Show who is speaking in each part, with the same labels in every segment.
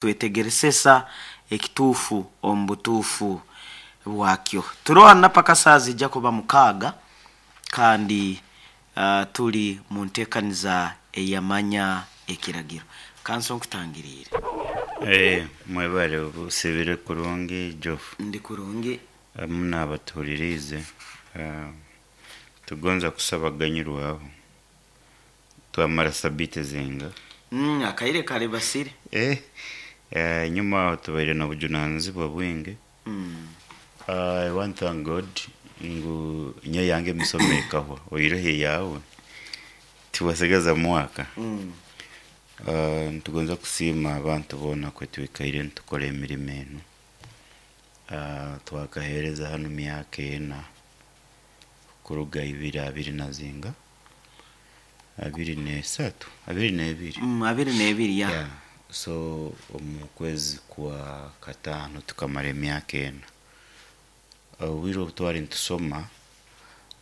Speaker 1: Twetegeresesa ekituufu omu butuufu bwakyo. Turoho paka saaha zijja kuba mukaaga kandi turi mu nteekaniza ey'amanya ekiragiro. Kanso nkutangiriire.
Speaker 2: Eh, mwebale obusibire kurungi Jofu.
Speaker 1: Ndi kurungi.
Speaker 2: Amu naabatuhuririize tugonza kusaba ganyirwaho twamara sabiiti zinga.
Speaker 1: Akaire karebasire.
Speaker 2: Eh, enyuma aho tubaire n'obujunanizibwa bwingi. I want to thank God ngu nyowe yange emisomo ekahwa oihireho eyaawe tiwasigaza mwaka. Nitugonza kusiima abantu boona kwe twikaire nitukora emirimo enu. Twakaheereza hanu myaka ena kuruga ibiri abiri na zinga 23 22.
Speaker 1: 22 ya.
Speaker 2: Yeah. So omu kwezi kwa kataano tukamara emyaka ena. Obwire obu twari nitusoma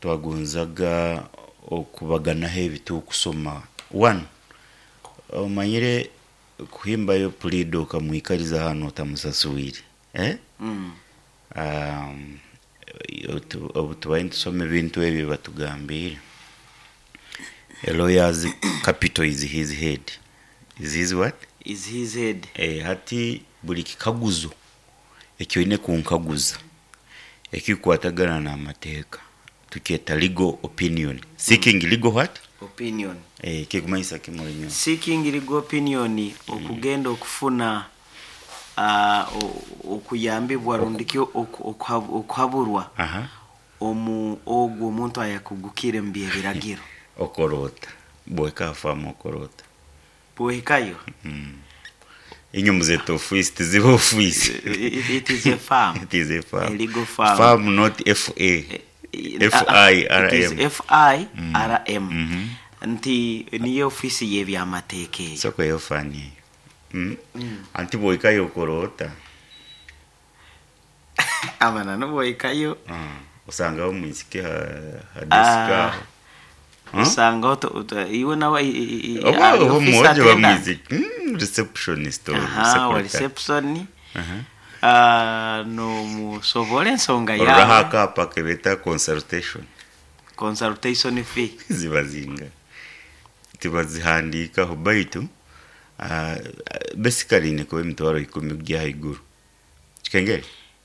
Speaker 2: twagonzaga okubaganaho ebi tukusoma. One, omanyire kuhimbayo puliida okamwikariza hanu otamusaswire eh? Obu tubaire nitusoma ebintu ebi batugambiire, a lawyer's capital is his head. Is his what?
Speaker 1: Is his head.
Speaker 2: Eh, hati buri kikaguzo eki oine kunkaguza ekikukwatagana n'amateeka tukyeta legal opinion. Seeking legal what?
Speaker 1: Opinion.
Speaker 2: Eh, kikumanyisa ki Murinyo?
Speaker 1: Seeking legal opinion okugenda okufuna okuyambibwa rundi ki okuhaburwa omu ogwo omuntu ayakugukire mu by'ebiragiro.
Speaker 2: Okoroota. Bweka afamu okoroota.
Speaker 1: Bwohikayo.
Speaker 2: Inywe muzeta ofiisi tiziba ofiisi.
Speaker 1: It is a farm.
Speaker 2: It is a farm.
Speaker 1: A legal farm.
Speaker 2: Farm not F A. F I R
Speaker 1: It is
Speaker 2: M.
Speaker 1: F I R M. Nti niyo ofiisi y'ebyamateeka eyo.
Speaker 2: Soko eyo fani eyo. Anti bwohikayo okoroota.
Speaker 1: Abana nobwohikayo.
Speaker 2: Osangaho omwisiki ha desk aho.
Speaker 1: Osangaho iwe nawe
Speaker 2: Oba
Speaker 1: ari
Speaker 2: oba
Speaker 1: office
Speaker 2: omwojo
Speaker 1: attendant.
Speaker 2: bamwisiki. Receptionist or
Speaker 1: Aha, wa
Speaker 2: secretary.
Speaker 1: reception. Nomusobola ensonga
Speaker 2: Ororaho
Speaker 1: yawe.
Speaker 2: akaapa kebeeta consultation.
Speaker 1: Consultation fee.
Speaker 2: Ziba zinga. Tibazihandiikaho baitu basically nikuba emitwaro ikumi kugya ahaiguru. Kikengere?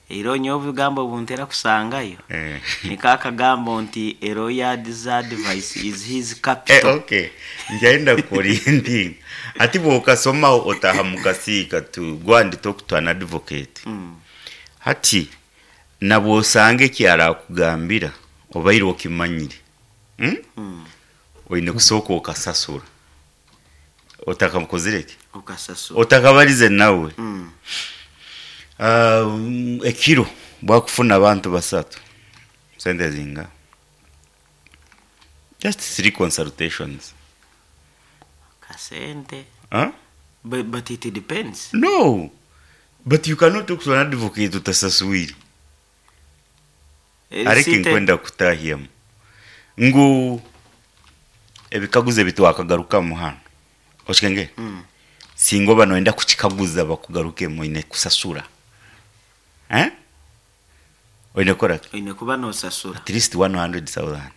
Speaker 1: Era nyowe obugambo obuntera kusangayo.
Speaker 2: Eh.
Speaker 1: Niko akagambo nti a lawyer's advice is his capital.
Speaker 2: Okay. Njaenda kuorienting. Ati bw'okasomaho otaaha mu kasiika tu go and talk to an advocate. Hati nabw'osanga eki arakugambira obaire okimanyire. Oine kusooka okasasura. Otakamukozire ki?
Speaker 1: Okasasura.
Speaker 2: Otakabarize nawe. Ekiro bwakufuna abantu basatu sente zinga just 3 consultations.
Speaker 1: Kasente.
Speaker 2: Huh?
Speaker 1: But it depends.
Speaker 2: No, but you cannot talk to an advocate utasaswire. Areke nkwenda kutahyamu ngu ebikaguzo ebi twakagarukamu hanu okikengere. Singa oba noyenda kukikaguza bakugarukemu oine kusasura. Eh? Oine kukora ki?
Speaker 1: Oine kuba nosasura.
Speaker 2: At least 100,000.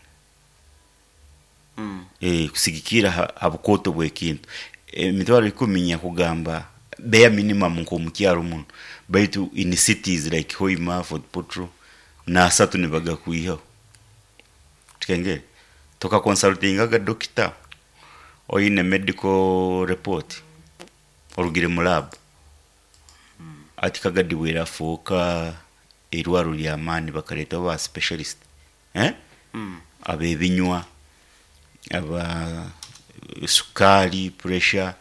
Speaker 2: Kusigikira ha bukooto bw'ekintu. Emitwaro ikumi nyakugamba bare minimum nk'omu kyaro muno. Baitu in cities like Hoima, Fort Portal, n'asatu nibagakwihaho. Kikengere? Tokaconsultingaga dokita oine medical report orugire mu lab. Ati Kagadi bwerafuuka eirwaro ry'amaani bakareetaho ba specialist. Eh? Ab'ebinywa, aba sukaari, pressure,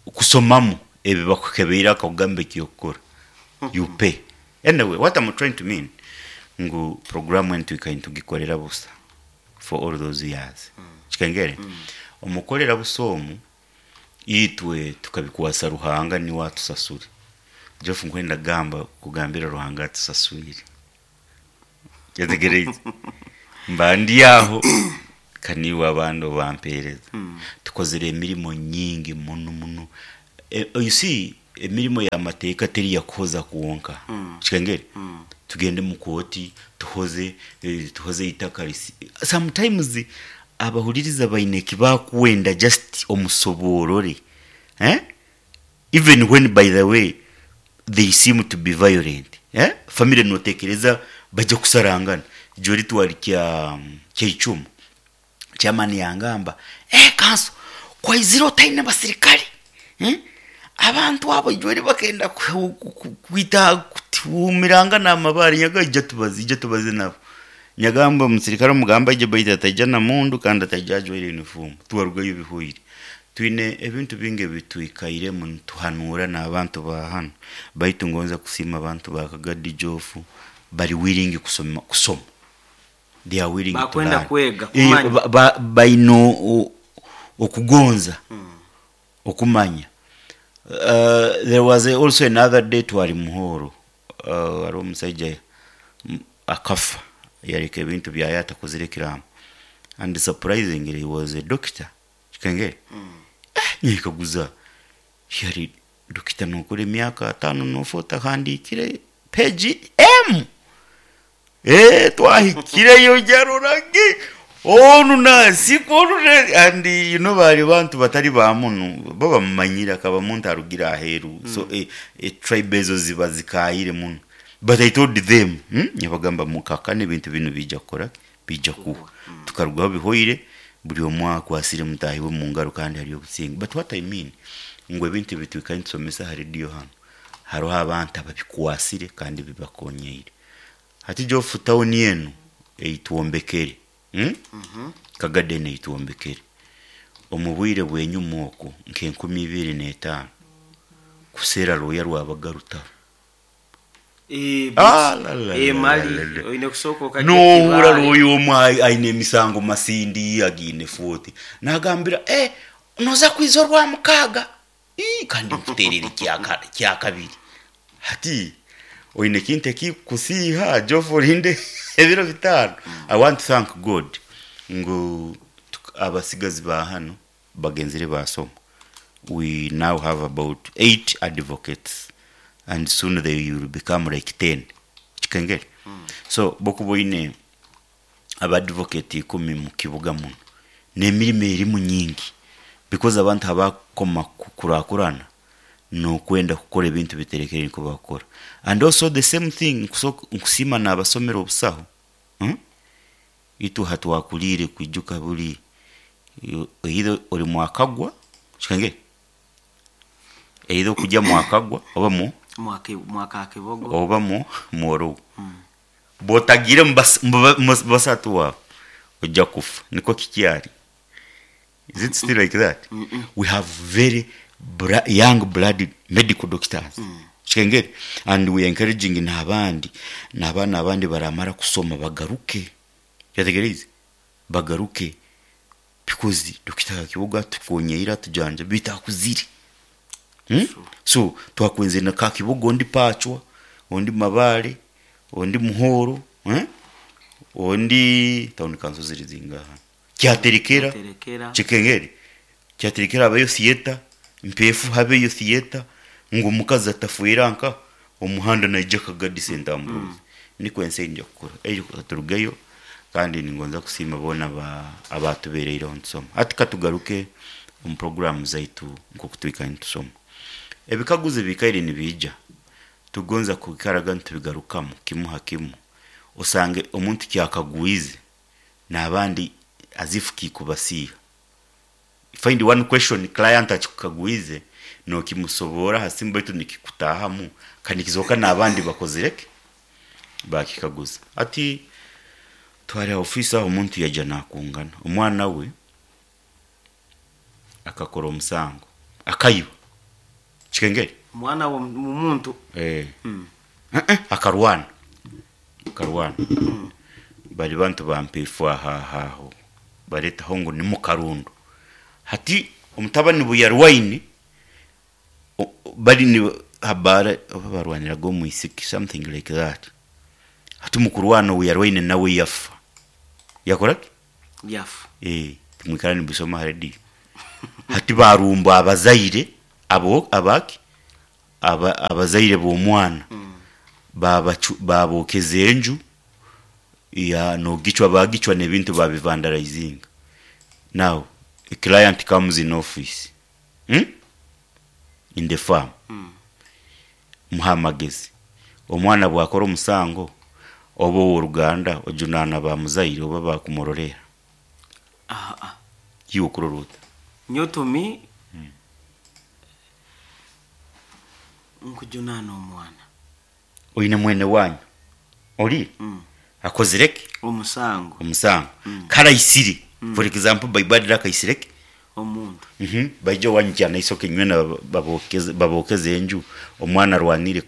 Speaker 2: kusomamu ebi bakukebeire akakugamba eky'okukora. You pay. Anyway, what I'm trying to mean ngu programu enu twikaire nitugikorera busa for all those years. Kikengere? Omukorera busa omu itwe tukabikwasa Ruhanga niwe atusasure. Jeff nkwenda gamba kugambira Ruhanga atusaswire. Kyetegereize? Mba ndi aho kaniwe abandi obampereza. Tukozire emirimo nyingi muno muno. You see, Emirimo y'amateeka teri yakuhoza kwonka. Kikengeri? Tugende mu kooti tuhoze, tuhoze eitaka risi. Sometimes abahuririza baine eki bakwenda just omusoboorore. Eh? Even when by the way they seem to be violent. Eh? Family notekereza baija kusarangana. Jori twari kya Kyeicumu. Chairman yangamba, Eh kanso, ku waizire otaine basirikare, eh, abantu abo ijweri bakenda kwita kutuhumirangana amabaare, nyaga ija tubaze, ija tubaze nabo. Nyagamba omusirikare omugamba aije baitu ataija na mundu kandi ataija ajwaire uniform. Twarugayo bihweire. Twine ebintu bingi ebitwikairemu nituhanuura n'abantu ba hanu, baitu ngonza kusiima abantu ba Kagadi Jofu bari willing kusoma kusoma. They are willing to
Speaker 1: Bakwenda
Speaker 2: learn.
Speaker 1: kwega,
Speaker 2: Eh,
Speaker 1: kumanya.
Speaker 2: ba- ba- baine o- okugonza okumanya. There was also another day twari Muhoro, hariho omusaija akafa yareka ebintu byaye atakozire ekiraamo and surprisingly he was a doctor kikengere. Nyekaguza yari dokita nokora emyaka ataano nofa otahandiikire page emu? Eh, twahikireyo yarora ngi onu nasiku onu na- and you know bari bantu batari ba munu bo bamumanyire akaba muntu arugire aheru so tribe ezo ziba zikayire muno but I told them Nyabagamba mukakane ebintu binu bija kukora ki? Bija kuhwa tukarugaho bihoire buri omwe akwasire mutahi we mungaro kandi hariyo obusinge but what I mean ngu ebintu ebi twikara nitusomesa aha radio hanu hariho abantu ababikwasire kandi bibakonyeire. Hati Geoff town enu eitwombekere, Kagadi enu eitwombekere, omu bwire bw'enyuma okwo nk'enkumi ibiri n'etaano, kuseera rooya rwabaga rutaro.
Speaker 1: Eh,
Speaker 2: Ah,
Speaker 1: but,
Speaker 2: la, la,
Speaker 1: eh,
Speaker 2: la,
Speaker 1: mali
Speaker 2: la, la.
Speaker 1: oine kusooka okagya
Speaker 2: Nohurra
Speaker 1: Kibaale.
Speaker 2: rooya omwe aine emisango masindi agiine 40 nagambira eh, noza kwiza orwamukaaga Ii, kandi nkuteerere ekyakabiri. Hati oine ekintu ekikusiiha Geoff orinde ebiro bitaano. I want to thank God ngu abasigazi ba hanu bagenzire baasoma. We now have about 8 advocates and soon they will become like 10. Kikengere? So bwokuba oine aba advocate ikumi mukibuga muno nemirimo erimu nyingi because abantu abakoma kukurakurana nokwenda kukora ebintu biterekere nikwo bakukora and also the same thing nkusiima nabasomera obusaho itwe hatwakuriire kwijuka buri either ori mwakagwa kikangire either okujya mwakagwa oba mu
Speaker 1: Mwakakibogo
Speaker 2: oba mu mworowo Bwotagiire omu basatu abo, oija kufa. Nikwo kikyari. Is it still like that? We have very young blood medical doctors. Kikengeri? And we are encouraging n'abandi, n'abaana abandi baramara kusoma bagaruke. Kyategereize? Bagaruke because Dokita Kakibogo atukonyeire atujanjabi beitu akuzire. So twakwenzire na Kakibogo ondi Pachwa, ondi Mabale, ondi Muhoro, ondi town council ziri zingaha? Kyaterekera,
Speaker 1: Kyaterekera.
Speaker 2: Kikengeri. Kyaterekera habeyo theatre, Mpeefu habeyo theatre, ngu omukazi atafwera nka omuhanda naija Kagadi St Ambrose. Nikwo ensi eija kukura. Ejo katurugeyo kandi ningonza kusiima boona abaatubereireho nitusoma. Hati katugaruke omu puroguraamu zaitu nk'oku twikara nitusoma. Ebikaguzo ebikaire nibiija, tugonza kwikaraga nitubigarukamu kimu ha kimu, osange omuntu kyakagwize n'abandi as if kikubasiiha. Find one question client akikukagwize nokimusoboora ha simu baitu nikikutaahamu kandi nikizooka n'abandi bakozire ki? Baakikaguza. Hati twari ha ofiisi aho omuntu yaija naakungana, omwana we akakora omusango, akaiba. Kikengeri?
Speaker 1: Omwana w'omuntu.
Speaker 2: Eh. Akarwana. Akarwana. Bari bantu ba Mpeefu aha aha aho. Bareetaho ngu ni Mukarundo. Hati omutabani bu yarwaine, bari ni ha baara oba barwaniraga omwisiki something like that. Hati omu kurwana ou yarwaine nawe yafa. Yakora ki?
Speaker 1: Yafa.
Speaker 2: Eh, timwikara nimubisoma aha rediyo. Hati barumba abazaire abo abaki? Abazaire b'omwana baabokeza enju ya nogicwa bagicwa n'ebintu babivandalizinga. Now a client comes in office hmm? in the farm muhe amagezi. Omwana bwakora omusango oba ow'oruganda ojunaana ba muzaire oba bakumurorera?
Speaker 1: Aa.
Speaker 2: Iwe okurora ota?
Speaker 1: Nyowe to me nkujunaana omwana.
Speaker 2: Oine mwene wanyu ori akozire ki?
Speaker 1: Omusango.
Speaker 2: Omusango. Kare aisire for example Bible adire akaisire ki?
Speaker 1: Omuntu.
Speaker 2: Baija owanyu kyanaisoke nywena babokeze enju omwana arwanire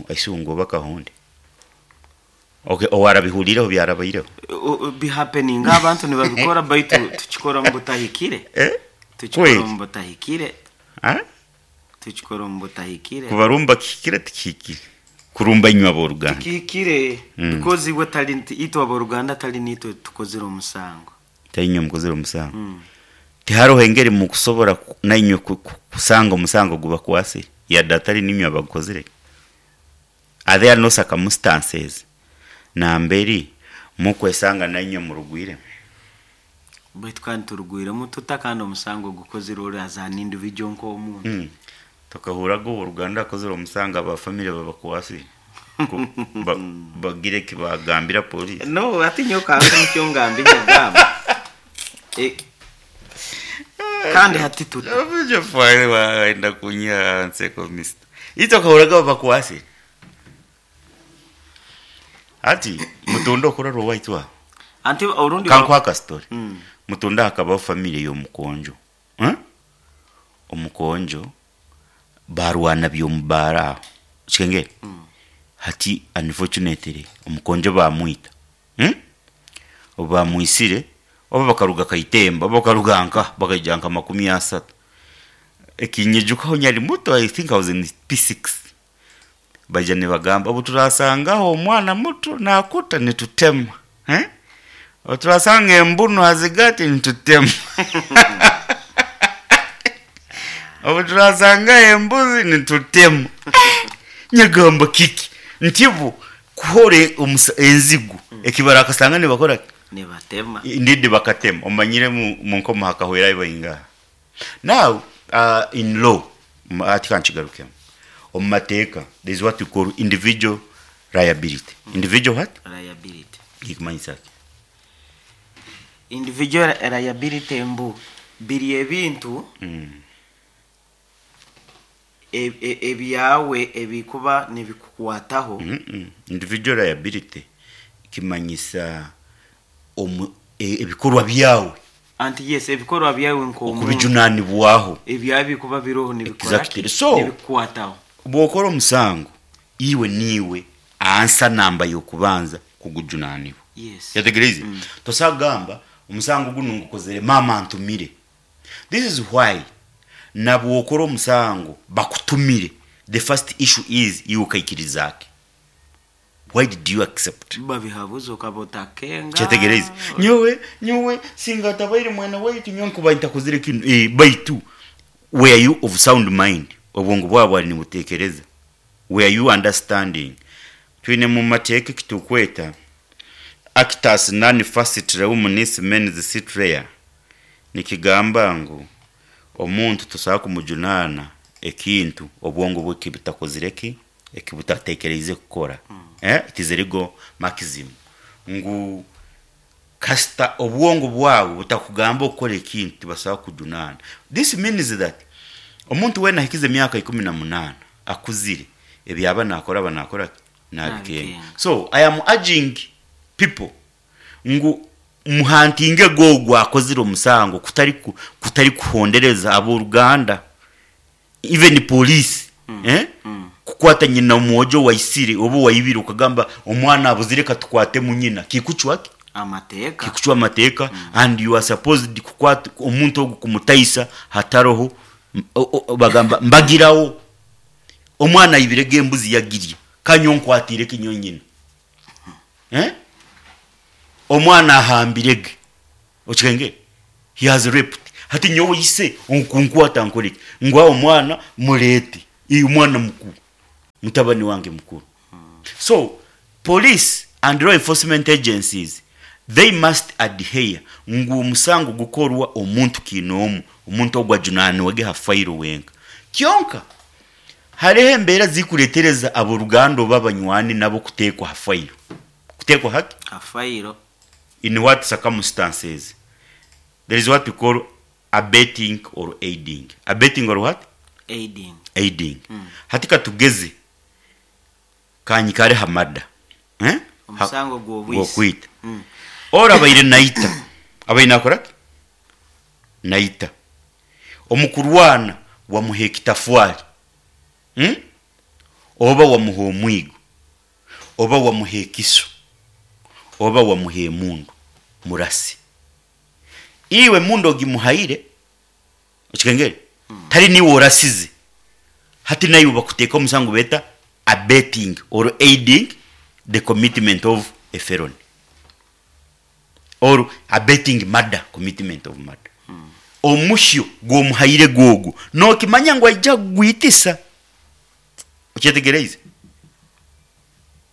Speaker 2: isungu oba kahonde. Okay owarabihuriireho byarabaireho?
Speaker 1: Bihapeninga abantu nibabikora baitu tukikora omu butahikire.
Speaker 2: Eh?
Speaker 1: Tukikora
Speaker 2: Kweli?
Speaker 1: omu butahikire.
Speaker 2: Ah?
Speaker 1: Tukikora omu butahikire.
Speaker 2: Kubarumba kihikire tikihikire? Kurumba inywe ab'oruganda.
Speaker 1: Tikihikire because iwe tali itwe ab'oruganda tali nitwe tukozire omusango.
Speaker 2: Tali inywe mukozire omusango. Tiharoho engeri mukusobora nainywe kusanga omusango ogubakwasire yadde atali ninywe abagukozire? Are there no circumstances namberi mukwesanga nainywe murugwiremu?
Speaker 1: Baitu kandi turugwiremu tuta kandi omusango gukozirwe ori as an individual nk'omuntu?
Speaker 2: Tokahurraga ow'oruganda akozire omusango aba family babakwasire bagire eki bagambira police?
Speaker 1: No, hati nyowe kanze nikyo ngambe nyagamba. Kandi hati tuta.
Speaker 2: Wayenda kunyiha nseko mister. Itwe okahurraga babakwasire? Hati mutunda okurora owaitu aho.
Speaker 1: Anti orundi
Speaker 2: Kankuhe akastori. Mutunda hakabaho family y'omukonjo. Eh? Omukonjo barwana by'omubaara aho. Okikengere? Hati unfortunately omukonjo bamwita. Hmm? Obu bamwisire, oba bakaruga Kaitemba, oba bakaruga nkaha, bakaija nka 30. Ekinyijukaho nyari muto, I think I was in P6. Baija nibagamba, obu turasangaho omwana muto nakuta nitutema. Eh? Obu turasanga embunu ha zigati nitutema. Obu turasangaho embuzi nitutema. Nyagamba kiki? Nti bo kuhora enzigu eki barakasanga nibakora ki?
Speaker 1: Nibatema.
Speaker 2: Indeed bakatema. Omanyire mu nkomo hakahwerayo baingaha. Now in law, hati kankigarukemu, omu mateeka there is what we call individual liability. Individual what?
Speaker 1: Liability.
Speaker 2: Nikumanyisa ki?
Speaker 1: Individual liability mbu biri ebintu ebyawe ebikuba nibikukwataho.
Speaker 2: Individual liability kimanyisa omu ebikorwa byawe.
Speaker 1: Anti yes, ebikorwa byawe nk'omuntu.
Speaker 2: Okubijunanibwaho.
Speaker 1: Ebyawe bikuba biroho nibikora ki?
Speaker 2: Exactly. So,
Speaker 1: Nibikukwataho.
Speaker 2: bwokora omusango, iwe niiwe ansa namba y'okubanza kugujunanibwa.
Speaker 1: Yes.
Speaker 2: Kyategereize? Tosobola kugamba omusango gunu ngukozere maama antumire. This is why nabwokora omusango bakutumire, the first issue is iwe okaikiriza ki? Why did you accept?
Speaker 1: Babihabuza okaba otakenga.
Speaker 2: Kyetegereze. Nyowe, nyowe singa atabaire mwene waitu nyowe nkuba ntakozire kinu. Eh, baitu were you of sound mind? Obwongo bwawe bwali nibutekereza? Were you understanding? Twine mu mateeka eki tukweta actus non facit reum nisi mens sit rea. Nikigamba ngu omuntu tosobola kumujunaana ekintu obwongo bwe kibutakozire ki? Eki butatekereize kukora. Eh, it is a legal maxim ngu kasita obwongo bwawe butakugamba okukora ekintu tibasobola kukujunaana. This means that omuntu weena ahikize emyaka 18 akuzire, ebi aba naakora aba naakora ki? Naabikenga.
Speaker 1: Naabikenga.
Speaker 2: So I am urging people ngu muhantinge ge ogwo akozire omusango kutari kutari kuhondereza ab'oruganda even police eh? Kukwata nyina omwojo owaisire oba owaibire okagamba omwana abuzire katukwatemu nyina kikucwa ki?
Speaker 1: Amateeka.
Speaker 2: Kikucwa amateeka and you are supposed kukwata omuntu ogu kumutaisa hataroho bagamba mbagirawo omwana aibire ge embuzi yagirya ka nyowe nkwatiire ki nyowe nyina eh? Omwana ahambire ge okikengere he has raped hati nyowe ise okunkwata nkore ki ngu aho omwana mureete. Ii omwana mukuru, mutabani wange mukuru. So, police and law enforcement agencies they must adhere ngu omusango gukorwa omuntu kiinoomu, omuntu ogwo ajunaanwege ha fayiro wenka. Kyonka hariho embeera zikureetereza ab'oruganda oba abanywani nabo kuteekwa ha fayiro. Kuteekwa haki?
Speaker 1: Ha fayiro.
Speaker 2: In what circumstances? There is what we call abetting or aiding. Abetting or what?
Speaker 1: Aiding.
Speaker 2: Aiding. Hati katugeze kanyikare ha murder. Eh? Ha-
Speaker 1: Omusango gw'obwisi.
Speaker 2: Gw'okwita. Ora abaire naita. Abaire nakora ki? Naita. Omu kurwana wamuha ekitafwari. Hmm? Oba wamuha omwigo. Oba wamuha ekiso. Oba wamuha emundu. Murasi. Iwe emundu ogimuhaire, okikengere? Tari niiwe orasize. Hati naiwe bakuteeka omusango beeta abetting or aiding the commitment of a felony or abetting murder, commitment of murder. Omuhyo gw'omuhaire gwogwo nookimanya ngu aija kugwitisa. Okyetegyereize?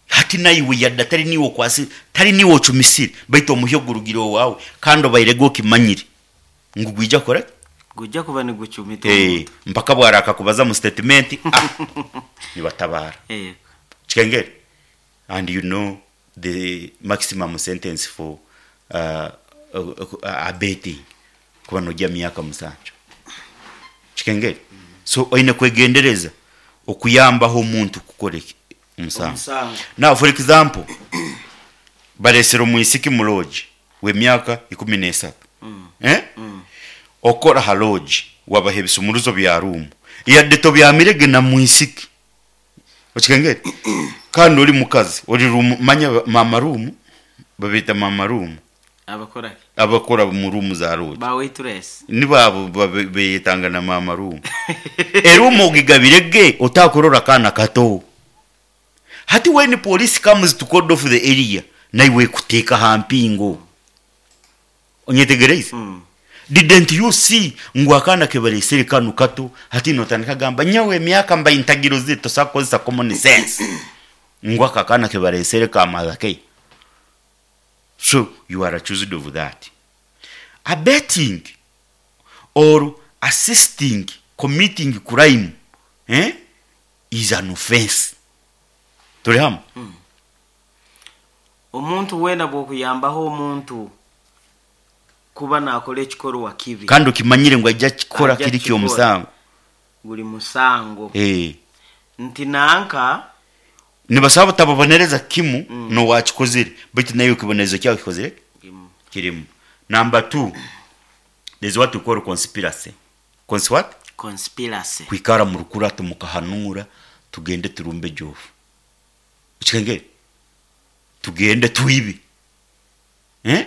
Speaker 2: Hati naiwe yadde atari niiwe okwasire, tari niiwe ocumisire, baitu omuhyo gurugire owaawe kandi obairege okimanyire ngu gwija kukora ki?
Speaker 1: Gwija kuba nigucumita
Speaker 2: Eh,
Speaker 1: omuntu.
Speaker 2: mpaka obu araakakubaza mu sitetimenti, ah, nibatabaara.
Speaker 1: Yego.
Speaker 2: Kikengere? And you know the maximum sentence for uh, uh, abetting kuba nogya myaka musanju. Kikengere? So oine kwegendereza okuyambaho omuntu kukora eki omusango.
Speaker 1: Omusango.
Speaker 2: Now for example, baresire omwisiki mu lodge w'emyaka 13. Eh? Okora ha lodge wabaha ebisumuruzo bya room. Yadde tobyamire ge na mwisiki. Okikengere? Kandi ori mukazi, ori room manya mama room, babeeta mama room.
Speaker 1: Abakora ki?
Speaker 2: Abakora mu room za lodge.
Speaker 1: Ba waitress.
Speaker 2: Nibo abo beyetanga na mama room. Eroom ogigabire ge otakurora akaana kato. Hati when police comes to cordon off the area, naiwe ekuteeka aha mpingo. Onyetegereize? Didn't you see ngu akaana kebaresire kanu kato, hati notandika kugamba nyowe emyaka mbaire ntagirozire, tosobola kukozesa common sense ngu ako akaana kebaresire ka mother care. So you are accused of that. Abetting or assisting committing crime eh, is an offense. Turi hamwe?
Speaker 1: Omuntu weena bw'okuyambaho omuntu kuba naakora ekikorwa kibi.
Speaker 2: Kandi okimanyire ngu aija kukikora
Speaker 1: Aija
Speaker 2: kiri
Speaker 1: kukikora.
Speaker 2: ky'omusango.
Speaker 1: Guri musango.
Speaker 2: Eh.
Speaker 1: Nti nanka.
Speaker 2: Nibasobola butababonereza kimu n'owakikozire baitu naiwe ekibonerezo kyawe kikozire ki? Kirimu. Number two, there's what we call conspiracy. Cons what?
Speaker 1: Conspiracy.
Speaker 2: Kwikara mu rukurato mukahanuura tugende turumbe Joofu. Okikengere? Tugende twibe. Eh?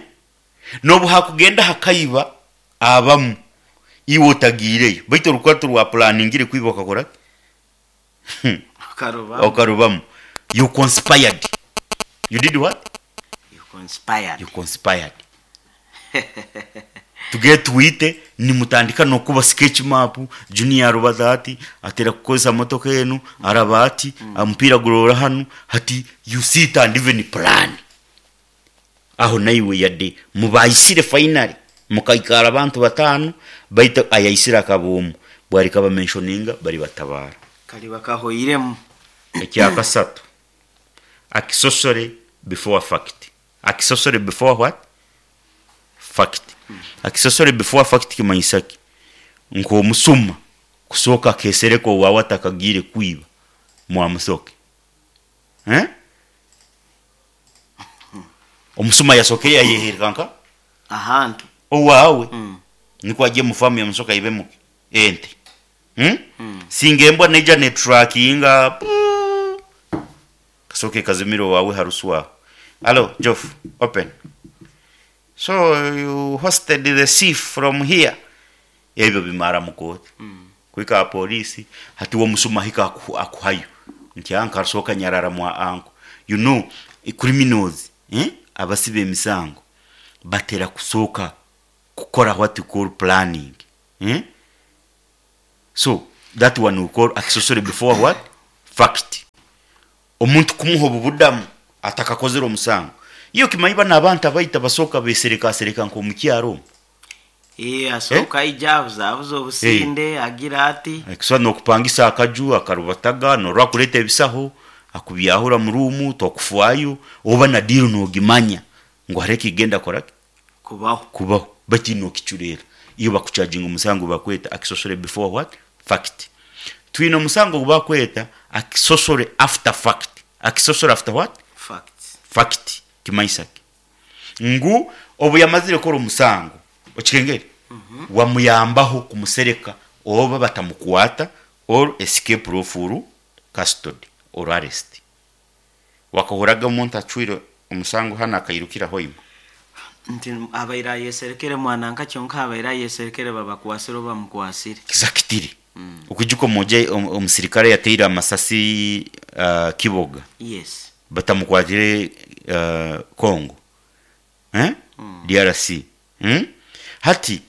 Speaker 2: N'obu hakugenda hakaiba abamu iwe otagiireyo baitu orukurato rwa pulaningire kwiba okakora ki?
Speaker 1: Okarubamu.
Speaker 2: Okarubamu. You conspired. You did what?
Speaker 1: You conspired.
Speaker 2: You conspired. Tugende twite nimutandika n'okuba sketch map, Junior arubaza ati, atera kukozesa motoka enu, araba ati, omupiira guroora hanu, hati you sit and even plan. Aho naiwe yadde mubaisire finally mukaikara abantu bataano baitu ayaisire akaba omu bwari kaba mentioninga bari batabaara.
Speaker 1: Kariba kahoiremu.
Speaker 2: Ekyakasatu, accessory before fact. Accessory before what? Fact. Accessory before fact kimanyisa ki? Nk'omusuma kusooka akeesereka owaawe atakagiire kwiba mwamusoke. Eh? Omusuma yasookere yayehereka nka?
Speaker 1: Ahantu.
Speaker 2: Owaawe. Nikwo agiye mu faamu ya musoke aibemu ki? Ente. Hmm? Singa embwa neija netrackinga kasooke kazimire owaawe harusu aho. Hello, Joff, open. So you hosted the thief from here. Ebyo bimara mu kooti. Kuhika aha poliisi, hati we omusuma ahika akuhayo. Nti anka asooka nyarara mwa anko. You know, criminals, eh? Abasiba emisango batera kusooka kukora what you call planning. Eh? So, That one we call accessory before what? Fact. Omuntu kumuha obubudamu atakakozire omusango. Iwe okimanyi banu abantu abaita basooka beserekasereka nk'omukyaro omu.
Speaker 1: Ee, asooka aija abuzabuza obusinde, agira ati.
Speaker 2: Ekiswa n'okupangisa akaju akarubataga norora akureeta ebisaho akubyahura mu ruumu tokufwayo oba na diiru nogimanya ngu hariho ekikugenda kukora ki?
Speaker 1: Kubaho.
Speaker 2: Kubaho baitu nokicureera. Iwe bakucajinga omusango bakweta accessory before what? Fact. Twine omusango ogu bakweta accessory after fact. Accessory after what?
Speaker 1: Fact.
Speaker 2: Fact kimanyisa ki? Ngu obu yamazire kukora omusango, okikengere, wamuyambaho kumusereka oba batamukwata or escape lawful custody or arrest. Wakahurraga omuntu acwire omusango hanu akairukira Hoima?
Speaker 1: Nti abaire ayeserekere mwana nka kyonka abaire ayeserekere babakwasire oba bamukwasire.
Speaker 2: Exactly. Okwijuka omwojo omusirikare ayateire amasasi Kiboga?
Speaker 1: Yes.
Speaker 2: Batamukwatire Congo? Eh? DRC. Umm? Hati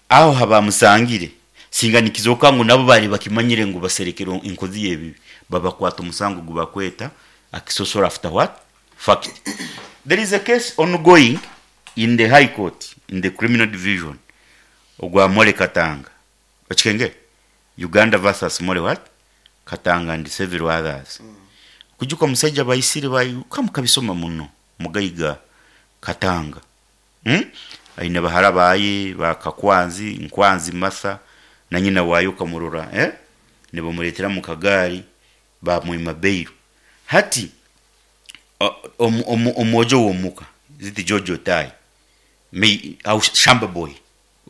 Speaker 2: aho habamusangire, singa nikizooka ngu nabo baali bakimanyire ngu baserekere enkozi y'ebibi, babakwata omusango ogu bakweta accessory after what? Fact. There is a case ongoing in the High Court in the criminal division ogwa Molly Katanga. Okikengere? Uganda versus Molly what? Katanga and several others. Okujuka omusaija baisire ba ka mukabisoma muno mugaiga Katanga. Umm aine bahara baaye ba Kakwanzi, Nkwanzi Martha na nyina waaye okamurora eh nibamureetera mu kagaari baamwima bail. Hati omwojo w'omuka is it George Otai may au Shamba boy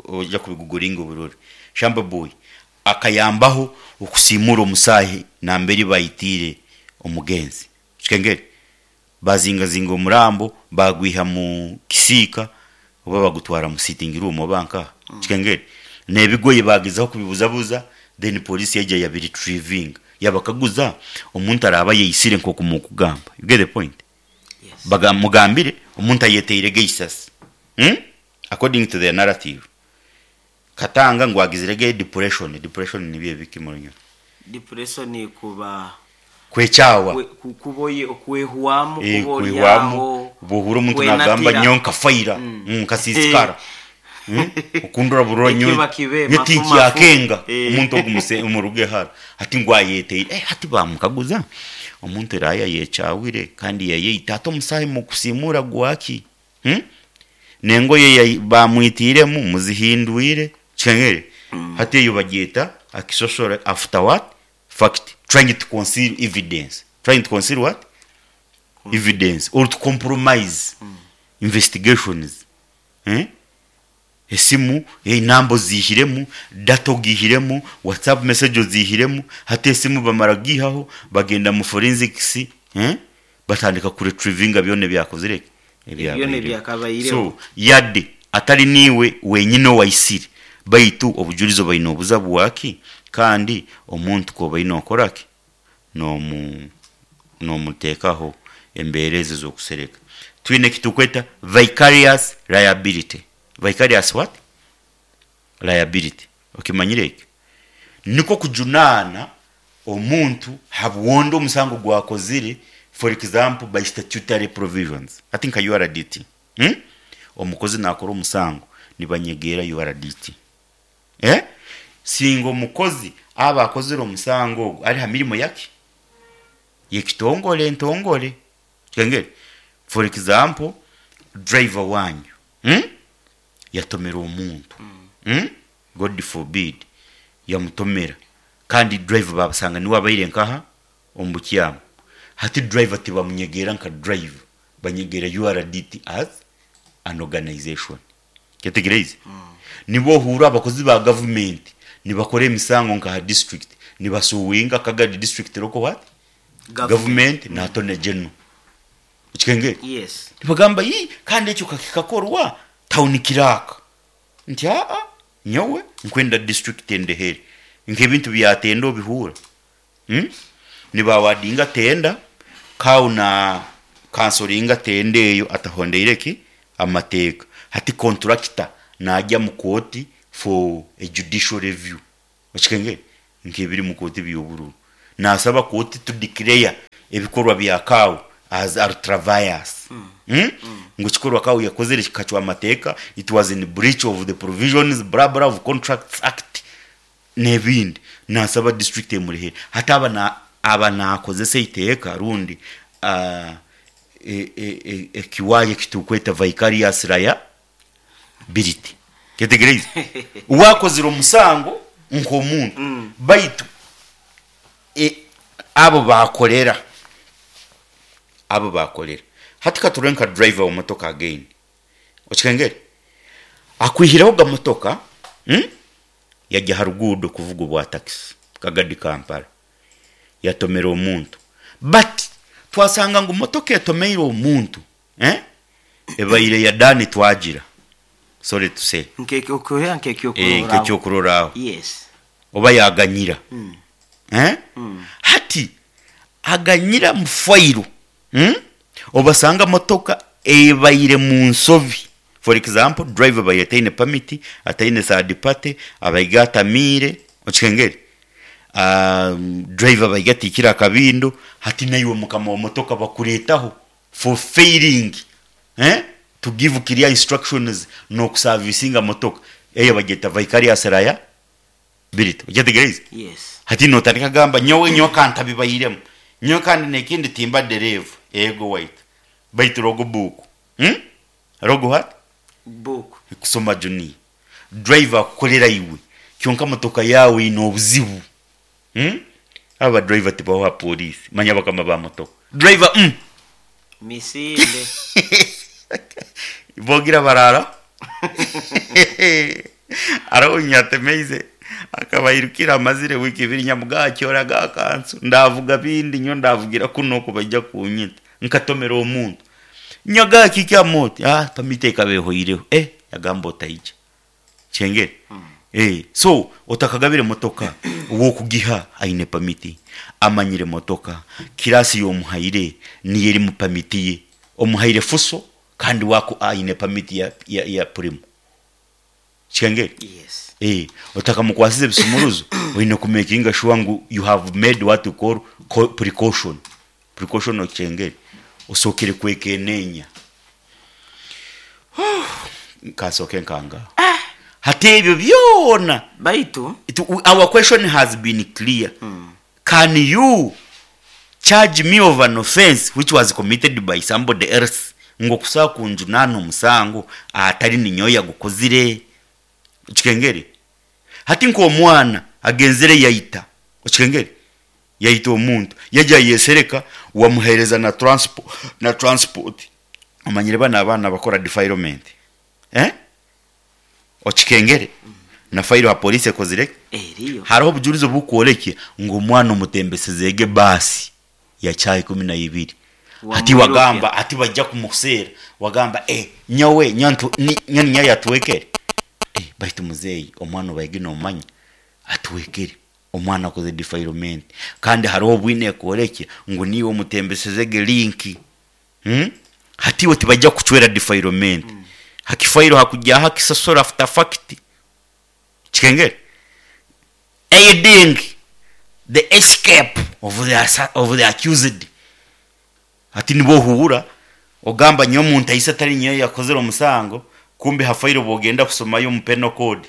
Speaker 2: oija kubiguguringa obirore, Shamba boy akayambaho okusiimuura omusaahi nambere baitiire omugenzi. Okikengere? Baazingazinga omurambo baagwiha mu kisiika oba bagutwara mu sitting room oba nkaha. Okikengere? N'ebigoye baagezaho kubibuzabuza then police yaija yabiretrievinga. Yabakaguza omuntu araabe ayeitsire nk'oku murikugamba. You get the point?
Speaker 1: Yes.
Speaker 2: Baga mugambire omuntu ayeteirege eisasi. Umm? According to their narrative. Katanga ngu agizire ge depression, depression nibyo ebiki murunyoro?
Speaker 1: Depression kuba
Speaker 2: Kwekyawa.
Speaker 1: kuba okwehwamu,
Speaker 2: Eh,
Speaker 1: kuba ori
Speaker 2: kwehwamu,
Speaker 1: aho,
Speaker 2: oba ohurra omuntu nagamba
Speaker 1: kwenatira.
Speaker 2: nyowe nkafaira, nkasiisikara. Okundora burora nyowe
Speaker 1: Ekiba kibe
Speaker 2: nyowe
Speaker 1: mafu mafu.
Speaker 2: tinkyakenga
Speaker 1: Eh.
Speaker 2: omuntu ogu muse muruge hara. Hati ngu ayeteire, eh hati bamukaguza omuntu eraabe yayekyawire kandi yayeita hati omusaayi mukusiimuura gwaki? N'engoye ei baamwitiiremu muzihindwire. Kikangire? Hati eyo bagyeta accessory after what? Fact. Trying to conceal evidence. Trying to conceal what? Evidence or to compromise investigations. Esimu enamba oziihiremu, data ogiihiremu, WhatsApp message oziihiremu, hati esimu bamara kugiihaho bagenda mu forensics batandika ku retrievinga byona ebyakozire ki?
Speaker 1: Byona
Speaker 2: Ebyabaireho.
Speaker 1: ebyakabaireho.
Speaker 2: So yade atari niiwe wenyine owaitsire baitu obujurizi obaire nobuza bwaki kandi omuntu ku obaire nokora ki? Nomu nomuteekaho embeera ezo ez'okusereka. Twine eki turikweta vicarious liability. Vicarious what? Liability. Okimanyire ekyo? Nikwo kujunaana omuntu habw'ondi omusango ogu akozire for example by statutory provisions. Hati nka URDT, omukozi naakora omusango nibanyegeera URDT. Singa omukozi aba akozire omusango ogu ari ha mirimo yaki? Y'ekitongore entongore. Okitengere? For example, driver waanyu yatomera omuntu, God forbid, yamutomera kandi driver babasanga niwe abaire nkaha? Omu bukyamu. Hati driver tibamunyegeera nka driver, banyegeera URDT as an organization. Kyetegereize? Nibwo ohuura abakozi ba gavumenti nibakora emisango nka aha district, nibasuuwinga Kagadi district local what? Government na Attorney General. Okikengere?
Speaker 1: Yes.
Speaker 2: Nibagamba yii kandi ekyo ka kikakorwa town clerk. Nti aa nyowe nkwenda district endehere. Nk'ebintu bya tenda obihuura? Nibawadinga tenda, kawu na kansoringa tenda eyo atahondeire ki? Amateeka. Hati kontulakita naagya mu kooti for a judicial review. Okikengere? Nk'ebiri mu kooti by'obururu. Naasaba kooti to declare ebikorwa bya Kau as ultra-vires. Ngu ekikorwa Kau yakozire kikacwa amateeka, it was in breach of the provisions blah blah of Contracts Act n'ebindi. Naasaba district emurihere. Hati aba na aba naakozesa eiteeka rundi ekiwaaya eki turikweta vicarious liability. Kyetegyereize? We akozire omusango nk'omuntu, baitu abo baakorera, abo baakorera. Hati ka turore nka driver w'emotoka again, okikengere? Akwihireho ga motoka, yagya ha ruguudo kuvuga obwa takisi, Kagadi Kampala, yatomera omuntu. But twasanga ngu motoka etomeire omuntu, Ebaire ya Dani twagira, sorry to say.
Speaker 1: Nk'ekyokurora
Speaker 2: Eh, nk'ekyokurorraho.
Speaker 1: Yes.
Speaker 2: Oba yaganyira. Eh? Hati aganyira mu fayiro. Obasanga motoka ebaire mu nsobi. For example, driver abaire ataine permit, ataine third party, abaire atamiire, okihengere? Driver abaire atiikire akabindo, hati naiwe mukama wa motoka bakureetaho for failing eh to give clear instructions nokusavisinga motoka eyo bagyeta vicarious liability okyetegereize?
Speaker 1: Yes.
Speaker 2: Hati notandika kugamba nyowe nyowe kantabibairemu nyowe kandi nekindi timba dereeva ego waitu baitu log book hmm log what?
Speaker 1: Book.
Speaker 2: Kusoma junior driver akukorera iwe kyonka motoka yaawe eine obuzibu. Umm aba ba driver tibaho aha police manya bakama ba motoka driver umm.
Speaker 1: Misinde.
Speaker 2: Bogira barara hariho nyatemeize akaba airukire amazire wiiki ibiri nyamuga akyora aga kansu ndavuga bindi nyowe ndavugira kunu oku baija kunyita nkatomera omuntu nyaga kiki oti ah permit ekaba ehoireho eh yagamba otaija. Kyengere? Eh, so otakagabire motoka ow'okugiha aine pamiti, amanyire motoka, kirasi y'omuhaire niyo eri mu pamiti ye, omuhaire fuso kandi we aine pamiti ya, ya, ya purimu. Kyengere?
Speaker 1: Yes.
Speaker 2: Eh, otakamukwasize ebisumuruzo oine kumekinga shuwa ngu you have made what we call precaution. Precaution okyengere? Osookere kwekeneenya. Nkansooke nkangaho. Hati ebyo byona,
Speaker 1: Baitu
Speaker 2: it, our question has been clear. Can you charge me of an offense which was committed by somebody else? Ngu okusobola kunjunaana omusango atari ninyowe oyagukozire? Okikengere? Hati nk'omwana agenzire yaita, okikengere? Yaita omuntu, yaija yayesereka wamuhereza na transport, na transport. Omanyire banu abaana abakora defilement eh? Okikengere na fayiro ha police ekozire ki?
Speaker 1: Eriyo.
Speaker 2: Hariho obujurizi obukworekya ngu omwana omutembeseze ege baasi ya shaaha 12 hati
Speaker 1: Wamwirukya.
Speaker 2: wagamba hati baija kumuseera wagamba eh nyowe nyowe ntu ni nyowe ninyowe yatwekere eh baitu muzeeyi omwana obaige nomanya atwekere. Omwana akoze defilement kandi hariho obwine ekworekye ngu niiwe omutembeseze ege link. Hati iwe tibaija kukucwera defilement. Hakifairo hakugyaho akisasura after fact. Kikengere? Aiding the escape of the of the accused. Hati nibwo ohuura ogamba nyowe omuntu aise atari nyowe yakozire omusango kumbe ha fairo bwogenda kusomayo omu penal code.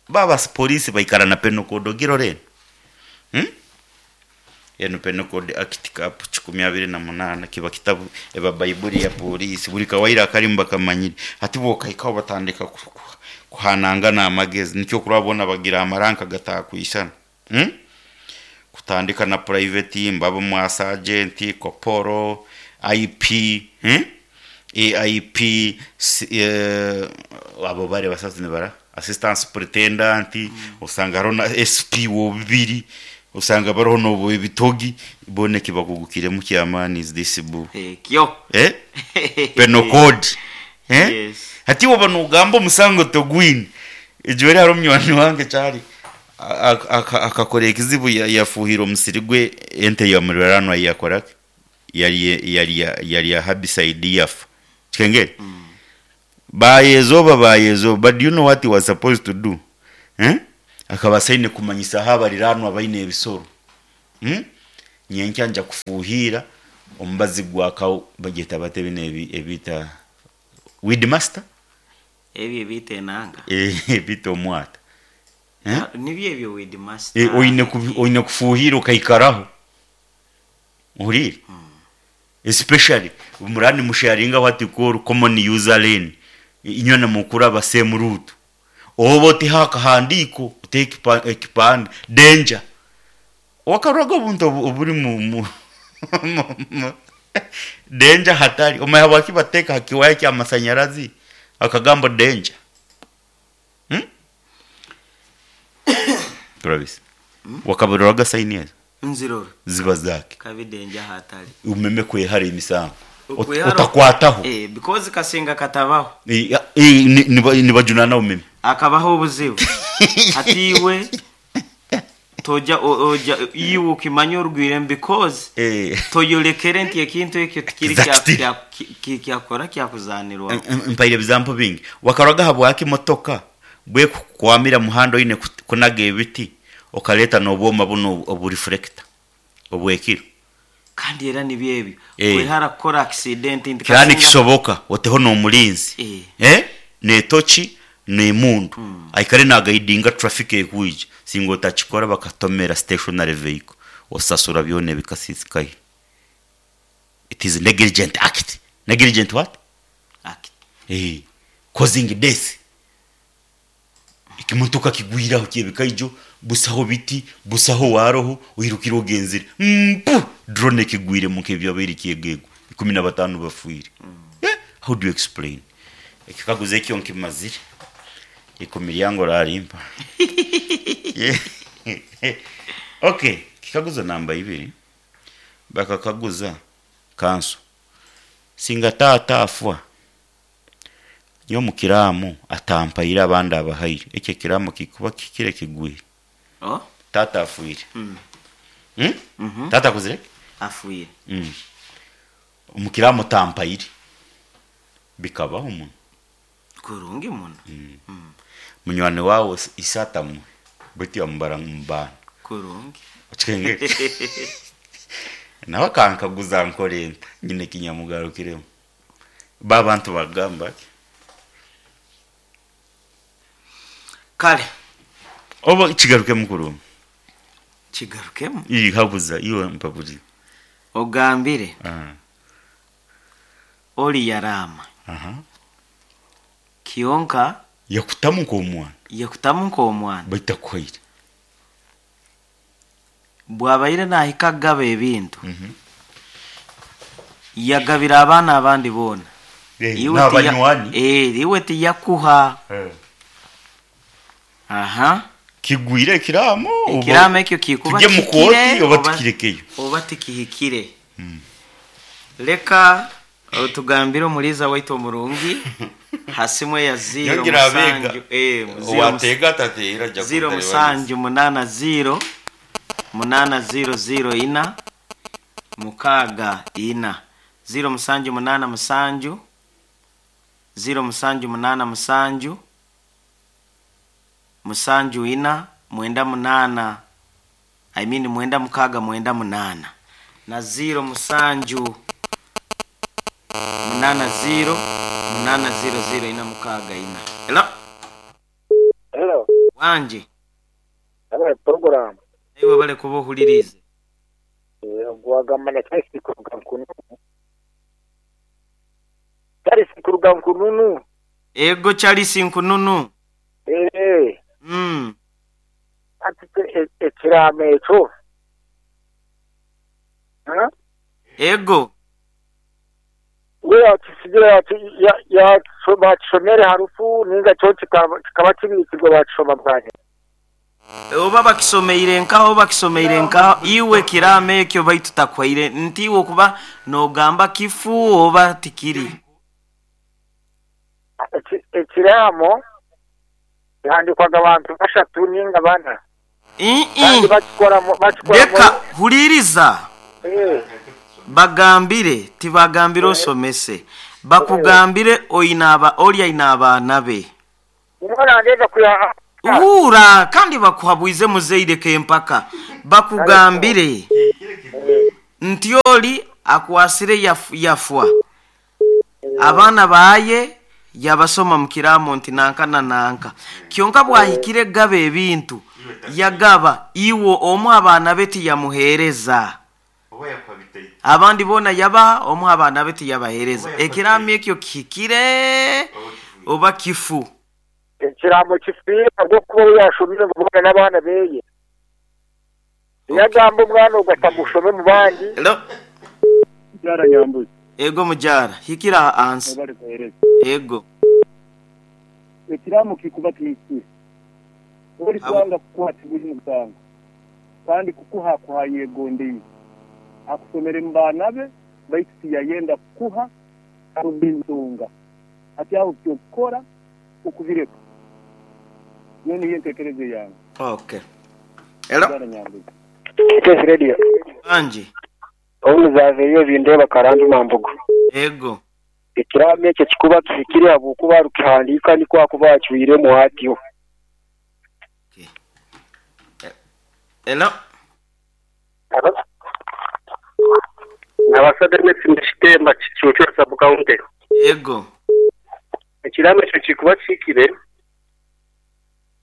Speaker 2: Ba abapoliisi baikara na Penal Code ogirora enu? Hmm? Enu Penal Code Act Cap 28 kiba kitabu eba Baibuli ya poliisi buri kawaire akarimu bakamanyire. Hati bwokahikaho batandika kuhanangana amagezi nikyo okurora boona bagira amaranka gatakwishana. Hmm? Kutandika na private, mbaba mwa sergeant, koporo, IP, hmm? AIP, eh, abo bari abasasi nibara assistant superintendent, osanga hariho na SP w'obubiri, osanga bariho n'obw'ebitogi, boona eki bakugukiremu ky'amaani is this book.
Speaker 1: Ekyo.
Speaker 2: Eh? Penal code. Eh?
Speaker 1: Yes.
Speaker 2: Hati waaba noogamba omusango togwine, ejweri hariho munywani wange kyari akakora ekizibu yafuuhira omusiri gwe ente ya muriranwa yakora ki? Yari yarya herbicide yafa. Kikengere? Bayezoba bayezoba but do you know what he was supposed to do? Eh? Akabaasa aine kumanyisaho abariraanwa abaine ebisoro. Hmm? Nyenkya nja kufuuhiira omubazi gwa kawu bagyeta bata binu ebi ebiita weed master?
Speaker 1: Ebyo ebiita enanga?
Speaker 2: Eh, ebiita omwata. Eh?
Speaker 1: Ah, nibyo ebyo weed master.
Speaker 2: Eh, oine oine kufuuhiira okaikaraho. Ohuriire? Especially muraba nimusharinga what you call common user lane, inywena mukuraba same route. Oba oteho akahandiiko, oteho ekipande, danger. Wakaroraga obuntu oburi mu danger hatari, omanya habwaki bateeka aha kiwaaya ky'amasanyarazi akagambo danger? Turabisa. Wakabiroraga sayini ezo?
Speaker 1: Nzirora.
Speaker 2: Ziba zaaki?
Speaker 1: Kabi danger hatari.
Speaker 2: Omeme kwehara emisango. Otakwataho.
Speaker 1: Eh, because kasinga katabaho.
Speaker 2: Eh, eh, nibajunana omeme.
Speaker 1: Akabaho obuzibu. Hati iwe toja oja iwe okimanya orugwiremu because
Speaker 2: eh.
Speaker 1: toyorekere nti ekintu ekyo tikiri kyakora kyakuzanirwaho.
Speaker 2: Mpaire ebizampo bingi. Wakaroraga habwaki motoka bwekukukwamira muhanda oine kunaga ebiti okareta n'obwoma bunu obu reflector obw'ekiro?
Speaker 1: Kandi era nibyo ebyo
Speaker 2: Eh.
Speaker 1: kwehara kukora accident nti
Speaker 2: Kiraba
Speaker 1: kasinga
Speaker 2: nikisoboka oteho n'omulinzi
Speaker 1: Eh.
Speaker 2: eh, n'etoki n'emundu aikare nagaidinga traffic ekwija. Singa otakikora bakatomera stationary vehicle osasura byona ebikasisikaire. It is negligent act. Negligent what?
Speaker 1: Act.
Speaker 2: Eh, causing death. Ekimotoka kigwire aho kyebikaijo, busaho biti, busaho waroho, oirukire ogenzire. Mpu! Drone ekigwiremu nk'ebyabaire kyegegwa. 15 bafiire. Eh, how do you explain? Ekikaguzo ekyo nkimazire. Ikumi ryange orarimpa. Okay, kikaguzo namba ibiri. Bakakaguza kanso. Singa taata afwa, nyowe omu kiraamo atampaire abandi abahaire, ekyo ekiraamo kikuba kihikire kigwire?
Speaker 1: Oh?
Speaker 2: Taata afwire.
Speaker 1: Mm.
Speaker 2: Mm?
Speaker 1: Mhm.
Speaker 2: Taata akozire ki?
Speaker 1: Afwire.
Speaker 2: Mm. Omu kiraamo tampaire. Bikabaho muno.
Speaker 1: Kurungi muno.
Speaker 2: Mm. Munywani waawe ise atamuhe, beitu yamubara omu baana.
Speaker 1: Kurungi.
Speaker 2: Okikengere? Nawe akankaguza nkore nta? Nyine eki nyamugarukiremu. Bo abantu bagamba ki?
Speaker 1: Kare.
Speaker 2: Oba kigarukemu kurungi.
Speaker 1: Kigarukemu?
Speaker 2: Ii, habuza, iwe mpaburize.
Speaker 1: Ogambire.
Speaker 2: Aha.
Speaker 1: Ori yaraama.
Speaker 2: Aha.
Speaker 1: Kyonka.
Speaker 2: Yakutamu nk'omwana.
Speaker 1: Yakutamu nk'omwana.
Speaker 2: Baitu takuhaire.
Speaker 1: Bwabaire nahika kugaba ebintu, yagabira abaana abandi boona. Iwe tiya-
Speaker 2: N'abanywani.
Speaker 1: Eh, iwe tiyakuha. Aha.
Speaker 2: Kigwire ekiraamo oba
Speaker 1: Ekiraamo ekyo kikuba
Speaker 2: tujye mu
Speaker 1: kihikire
Speaker 2: kooti oba
Speaker 1: oba
Speaker 2: tukirekeyo.
Speaker 1: oba tikihikire. Leka otugambire omuliiza waitu omurungi ha simu eya ziiro
Speaker 2: Nyongera abeega.
Speaker 1: musanju eh, ziiro
Speaker 2: Owateega atateera ajja
Speaker 1: ziiro
Speaker 2: kuntarebanisa.
Speaker 1: musanju munaana ziiro munaana ziiro ziiro ina mukaaga ina ziiro musanju munaana musanju ziiro musanju munaana musanju musanju ina mwenda munaana I mean mwenda mukaaga mwenda munaana na ziiro musanju munaana ziiro munaana ziiro ziiro ina mukaaga ina. Hello?
Speaker 3: Hello.
Speaker 1: Wangi.
Speaker 3: Hello, program.
Speaker 1: Iwe webale kuba ohuririize.
Speaker 3: Gwagamba na Charles kuruga Nkununu. Charles kuruga Nkununu.
Speaker 1: Ego Charles Nkununu.
Speaker 3: Eh. Ati ekiraamo ekyo. Ha?
Speaker 1: Ego.
Speaker 3: We yakisigira ya bakishomere harufu ninga kyo kikaba kibikirwe bakishoma bwanyuma.
Speaker 1: Oba bakisomeire nkaho bakisomeire nkaho iwe kiraamo ekyo baitu takwaire nti iwe okuba nogamba kifu oba tikiri.
Speaker 3: Ekiraamo kihandikwaga abantu bashatu ninga bana.
Speaker 1: Ii.
Speaker 3: Kandi bakikora bakikora
Speaker 1: Leka huliriza.
Speaker 3: Eh.
Speaker 1: Bagambire tibagambire osomese. Bakugambire oina aba oli aina abaana be.
Speaker 3: Omwana wange kuya
Speaker 1: Huura kandi bakuhabwize muzaire kempaka bakugambire nti ori akwasire yafwa abaana baaye yabasoma mu kiraamo nti nanka na nanka kyonka bwahikire kugaba ebintu yagaba iwe omu abaana be tiyamuheereza abandi boona yabaha omu abaana be tiyabaheereza ekiraamo ekyo kihikire oba kifu?
Speaker 3: Ekiraamo kifiire ahabw'okuba ou yaashomire ngu boona n'abaana beye. Tiyagamba omwana ogwo ati amushome omu bandi.
Speaker 1: Hello.
Speaker 4: Mukyara Nyambuzi.
Speaker 1: Ego mukyara, hikira aha ansi.
Speaker 4: Mwebale kuhereza.
Speaker 1: Ego.
Speaker 4: Ekiraamo kikuba kihikire. Ori kwanga kukuha tiburi musango, kandi kukuha akuha ayegondeire. Akusomere mu baana be baitu tiyayenda kukuha ahabw'enshonga. Hati aho ky'okukora okubireka. Nyowe niyo entekereza eyange.
Speaker 1: Okay. Hello.
Speaker 4: Mukyara Nyambuzi.
Speaker 5: KS Radio.
Speaker 1: Wangi.
Speaker 5: Obu nizaava bindeeba Karambi Mambugu.
Speaker 1: Ego.
Speaker 5: Ekiraamo ekyo kikuba kihikire ahabw'okuba arukihandiika nikwo akuba acwiremu atyo.
Speaker 1: Hello.
Speaker 6: Nabaasa Denis ndi Kitemba Kicuucu Sub County.
Speaker 1: Ego.
Speaker 6: Ekiraamo ekyo kikuba kihikire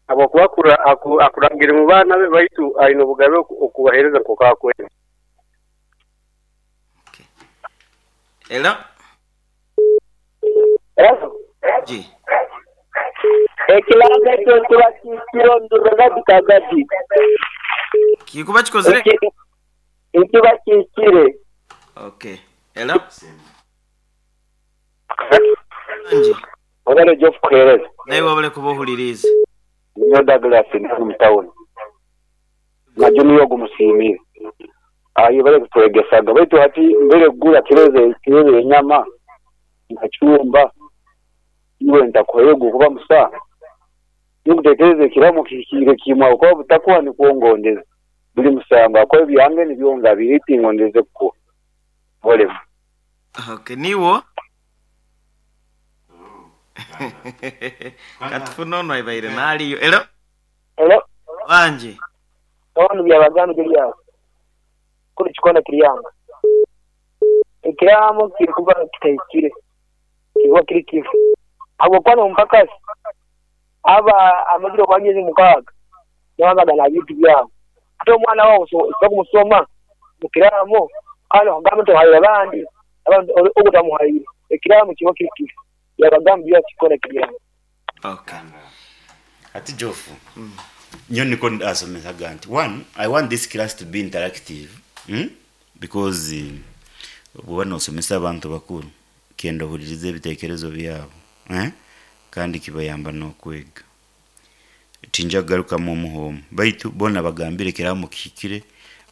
Speaker 6: ahabw'okuba akurangire mu baana be baitu aine obugabe okubaheereza nk'oku akwenda.
Speaker 1: Hello.
Speaker 7: Hello.
Speaker 1: Ji.
Speaker 7: Ekiraamo ekyo nikiba kihikire omu Gadi Kagadi.
Speaker 1: Kikuba kikozire?
Speaker 7: Nikiba kihikire.
Speaker 1: Okay. Hello. Wangi.
Speaker 5: Webale Geoff kuheereza.
Speaker 1: Naiwe webale kuba ohuririize.
Speaker 5: Ninyowe Douglas ndi hanu omu tawuni. Na Junior ogu musiimire. Ayebare kutwegesaga baitu hati mbere kugura kiro kiro y'enyama nkacumba iwe ntakuhayo ogu kuba musango. Ninkutekereza ekiraamo kihikiire kimwe ahabw'okuba butakuha nikwo ngondeze. Buri musango ahakuba ebyange nibyo ngabire tingondeze kukuha. Olemu.
Speaker 1: Okay, niwo? Katufune onu aibaire naliyo. Hello.
Speaker 7: Hello.
Speaker 1: Wangi.
Speaker 7: Onu Byabagamba Julius. Kunu kikona Kiryanga. Ekiraamo kirikuba kitahikire. Kirikuba kiri kifu. Ahabw'okuba n'omupakasi aba amazire okuba myezi mukaaga nawe aba na bintu byabo. Hati omwana waawe osobola kumusoma mu kiraamo kandi okugamba nti ohaire abandi, abandi ogu otamuhaire. Ekiraamo kiba kiri kifu. Byabagamba Julius Kikona Kiryanga.
Speaker 1: Okay.
Speaker 2: Ati Jofu, nyowe nikwo ndasomesaga nti one, I want this class to be interactive, Because bwoba nosomesa abantu bakuru, kyenda ohuririze ebitekerezo byabo, eh? Kandi kibayamba n'okwega. Tinja kugarukamu omuha omu. Baitu boona bagambire ekiraamo kihikire,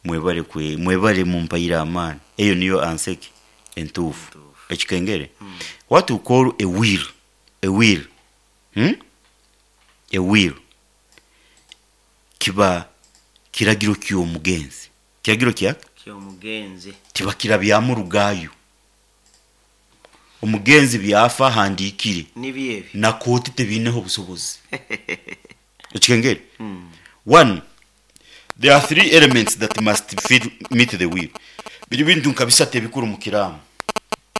Speaker 2: mwebale kwe, mwebale mumpaire amaani. Eyo niyo answer ki entuufu. Ekikengere? What we call a will, a will, A will kiba kiragiro ky'omugenzi. Kiragiro kya?
Speaker 1: Ky'omugenzi.
Speaker 2: Tibakirabyamu rugayo. Omugenzi byafa ahandiikire.
Speaker 1: Nibyo ebyo.
Speaker 2: Na kooti tebiineho obusobozi. Ekikengere? One, there are three elements that must fit, meet the will. Biri bintu nka bisatu ebikuru mu kiraamo.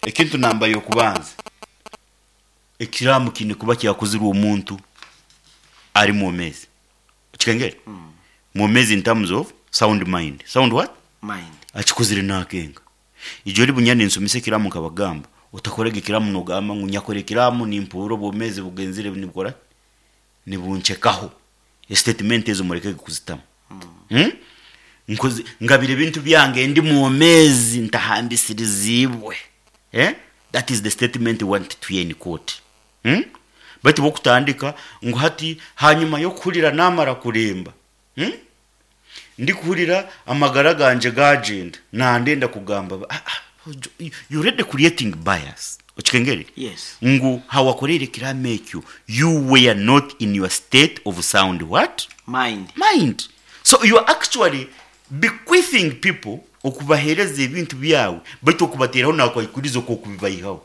Speaker 2: Ekintu namba y'okubanza, ekiraamo kiine kuba kyakozirwe omuntu ari mwomeezi. Okikengere? Mwomeezi in terms of sound mind. Sound what?
Speaker 1: Mind.
Speaker 2: Akikozire nakenga. Ijo ori bunya ninsomesa ekiraamo nkabagamba, otakoraga ekiraamo nogamba ngu nyakora ekiraamo nimpuura obwomeezi bugenzire nibukora ki? Nibunchekaho. Estatement ezo murekege kuzitamu. Nkoze, ngabire ebintu byange ndi mwomeezi ntahambisiriziibwe. Eh? That is the statement we want to hear in court. Baitu bwokutandika ngu hati hanyima y'okuhurira namara kuremba, Ndikuhurira amagara gangye gagyenda, nandenda kugamba, ah, ah, you already creating bias. Okikengere?
Speaker 1: Yes.
Speaker 2: Ngu hawakoreire ekiraamo ekyo, you were not in your state of sound what?
Speaker 1: Mind.
Speaker 2: Mind. So you are actually bequeathing people okubaheereza ebintu byawe, baitu okubateeraho nakwikuriza okwo okubibaihaho.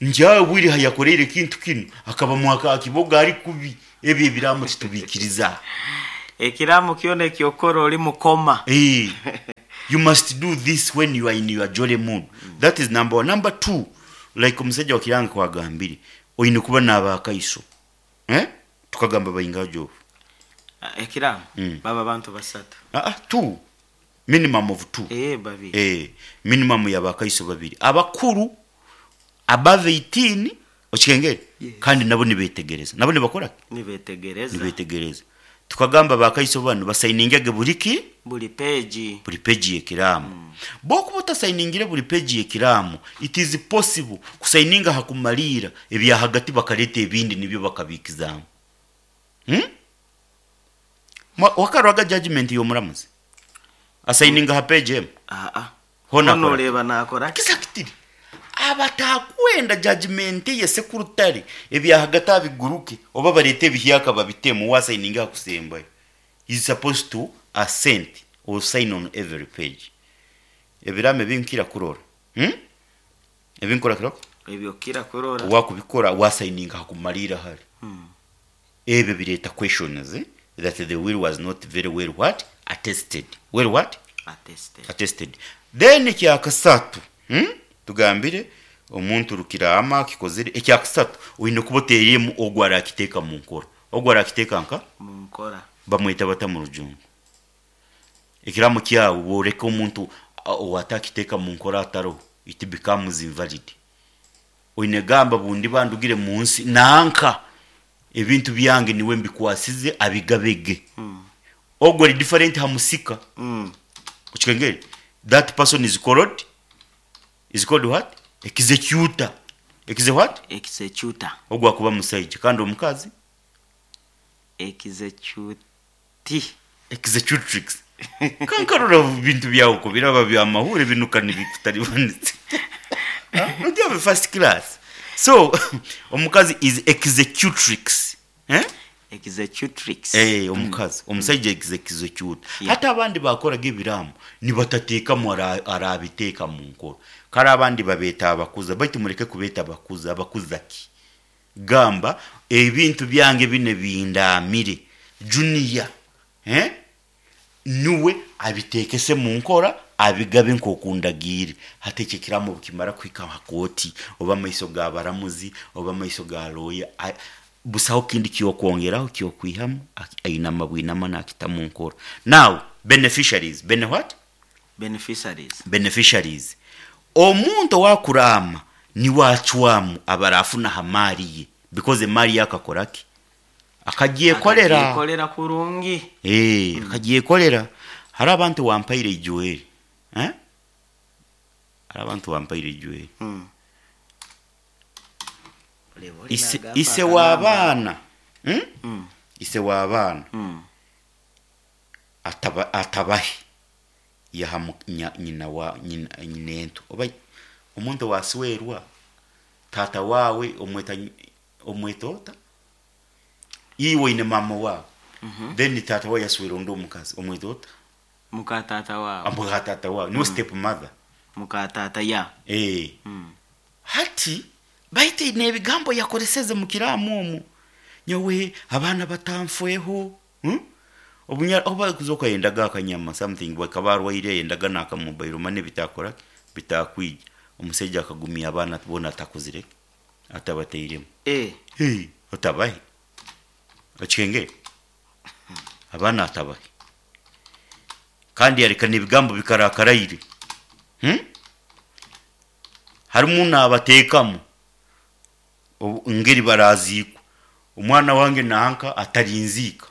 Speaker 2: Nti awe bwire hayakoreire ekintu kinu akaba mwaka akiboga ari kubi ebyo ebiraamo titubikiriza.
Speaker 1: Ekiraamo kyona ekyokukora ori mukoma.
Speaker 2: Eeh you must do this when you are in your jolly mood that is number one. Number two like omusaija wa Kiranga kwagambire oine kuba nabakaiso eh tukagamba baingaha Job?
Speaker 1: Ekiraamo baba bantu basatu.
Speaker 2: Aa two minimum of two.
Speaker 1: Eeh babiri.
Speaker 2: Eeh minimum ya bakaiso babiri abakuru above 18 okikengere kandi nabo nibetegereza nabo nibakora ki?
Speaker 1: Nibetegereza.
Speaker 2: Nibetegereza. Tukagamba bakaiso banu basainingege buri ki?
Speaker 1: Buri page.
Speaker 2: Buri page y'ekiraamo. Bwokuba otasainingire buri page y'ekiraamo, it is possible kusaininga aha kumariira ebya hagati bakareta ebindi nibyo bakabiikizaamu. Hmm? Wakaroraga judgement y'omuramuzi? Asaininga aha page emwe?
Speaker 1: Aa.
Speaker 2: Hoona
Speaker 1: Hoona
Speaker 2: akora ki?
Speaker 1: oreeba naakora ki?
Speaker 2: Exactly. Abatakwenda judgement ye sekurutare ebyahagati abiguruke oba bareete ebihyaka babitemu we asaininge aha kusembayo. He is supposed to assent or sign on every page. Ebiraamo ebi nkira kurora. Hmm? Ebi nkora kira
Speaker 1: Ebi okira kurora.
Speaker 2: Owakubikora wasaininga aha kumariira hare. Ebyo bireeta questions that the will was not very well what? Attested. Well what?
Speaker 1: Attested.
Speaker 2: Attested. Then ekyakasatu, hmm? Tugambire omuntu rukiraama akikozire. Ekyakasatu, oine kuba oteiremu ogwo arakiteeka mu nkora. Ogwo arakiteeka nka?
Speaker 1: Mu nkora.
Speaker 2: Bamweta bata mu rujungu? Ekiraamo kyawe bworeka omuntu owatakiteeka mu nkora ataroho, it becomes invalid. Oine gamba bundiba ndugire mu nsi nanka ebintu byange niwe mbikwasize abigabe ge. Ogwo ari different ha musika. Okikengere? That person is called is called what? Executor. Exe what?
Speaker 1: Executor.
Speaker 2: Ogwo akuba musaija kandi omukazi?
Speaker 1: Executi.
Speaker 2: Executrix. Kankarora bintu byawe ku biraba bya mahure binuka nibikutaribanisa. Don't you have a first class? So, omukazi is executrix. Eh?
Speaker 1: Executrix.
Speaker 2: Eh, omukazi. Omusaija executor. Hati abandi bakoraga ebiraamo nibatatekamu arabiteeka mu nkora. Kare abandi babeeta abakuza baitu mureke kubeeta abakuza, abakuza ki? Gamba ebintu byange binu ebindaamire Junior eh nuwe abiteekese mu nkora abigabe nk'oku ndagiire. Hati ekyo ekiraamo obu kimara kuhika ha kooti oba amaiso g'abaramuzi oba amaiso ga looya, busaho kindi ky'okwongeraho ky'okwihamu, ainama bwinama naakita mu nkora. Now beneficiaries, bene what?
Speaker 1: Beneficiaries.
Speaker 2: Beneficiaries. Omuntu owakuraama niwe acwamu abarafuna aha maari ye because emaari ye akakora ki? Akagyekorera.
Speaker 1: Akagyekorera kurungi.
Speaker 2: Eeh, akagyekorera. Hariho abantu wampaire Joel, eh? Hariho abantu wampaire Joel. Ise, ise w'abaana, hmm? Ise w'abaana ataba, atabahe. Yaha nyina wa nyinento oba omuntu owaswerwa taata waawe omweta omweta ota? Iwe oine maama waawe then taata waawe yaswera ondi omukazi omweta ota?
Speaker 1: Muka taata waawe.
Speaker 2: Muka taata waawe niwe step mother.
Speaker 1: Muka taata ya.
Speaker 2: Eeh hati baitu nebigambo yakoreseze mukiraamo omwo nyowe abaana batanfweho. Obunya obu arikuza ayendaga akanyama something akaba arwaire ayendaga naka mobile money bitakora ki bitakwija. Omusaija akagumya abaana boona atakozire ki atabatairemu.
Speaker 1: Eh.
Speaker 2: Hey otabahe? Okihengere? Abaana atabahe. Kandi yareka nebigambo bikarakaraire. Harimu nabateekamu engeri baraziikwa. Omwana wange nanka atarinziika.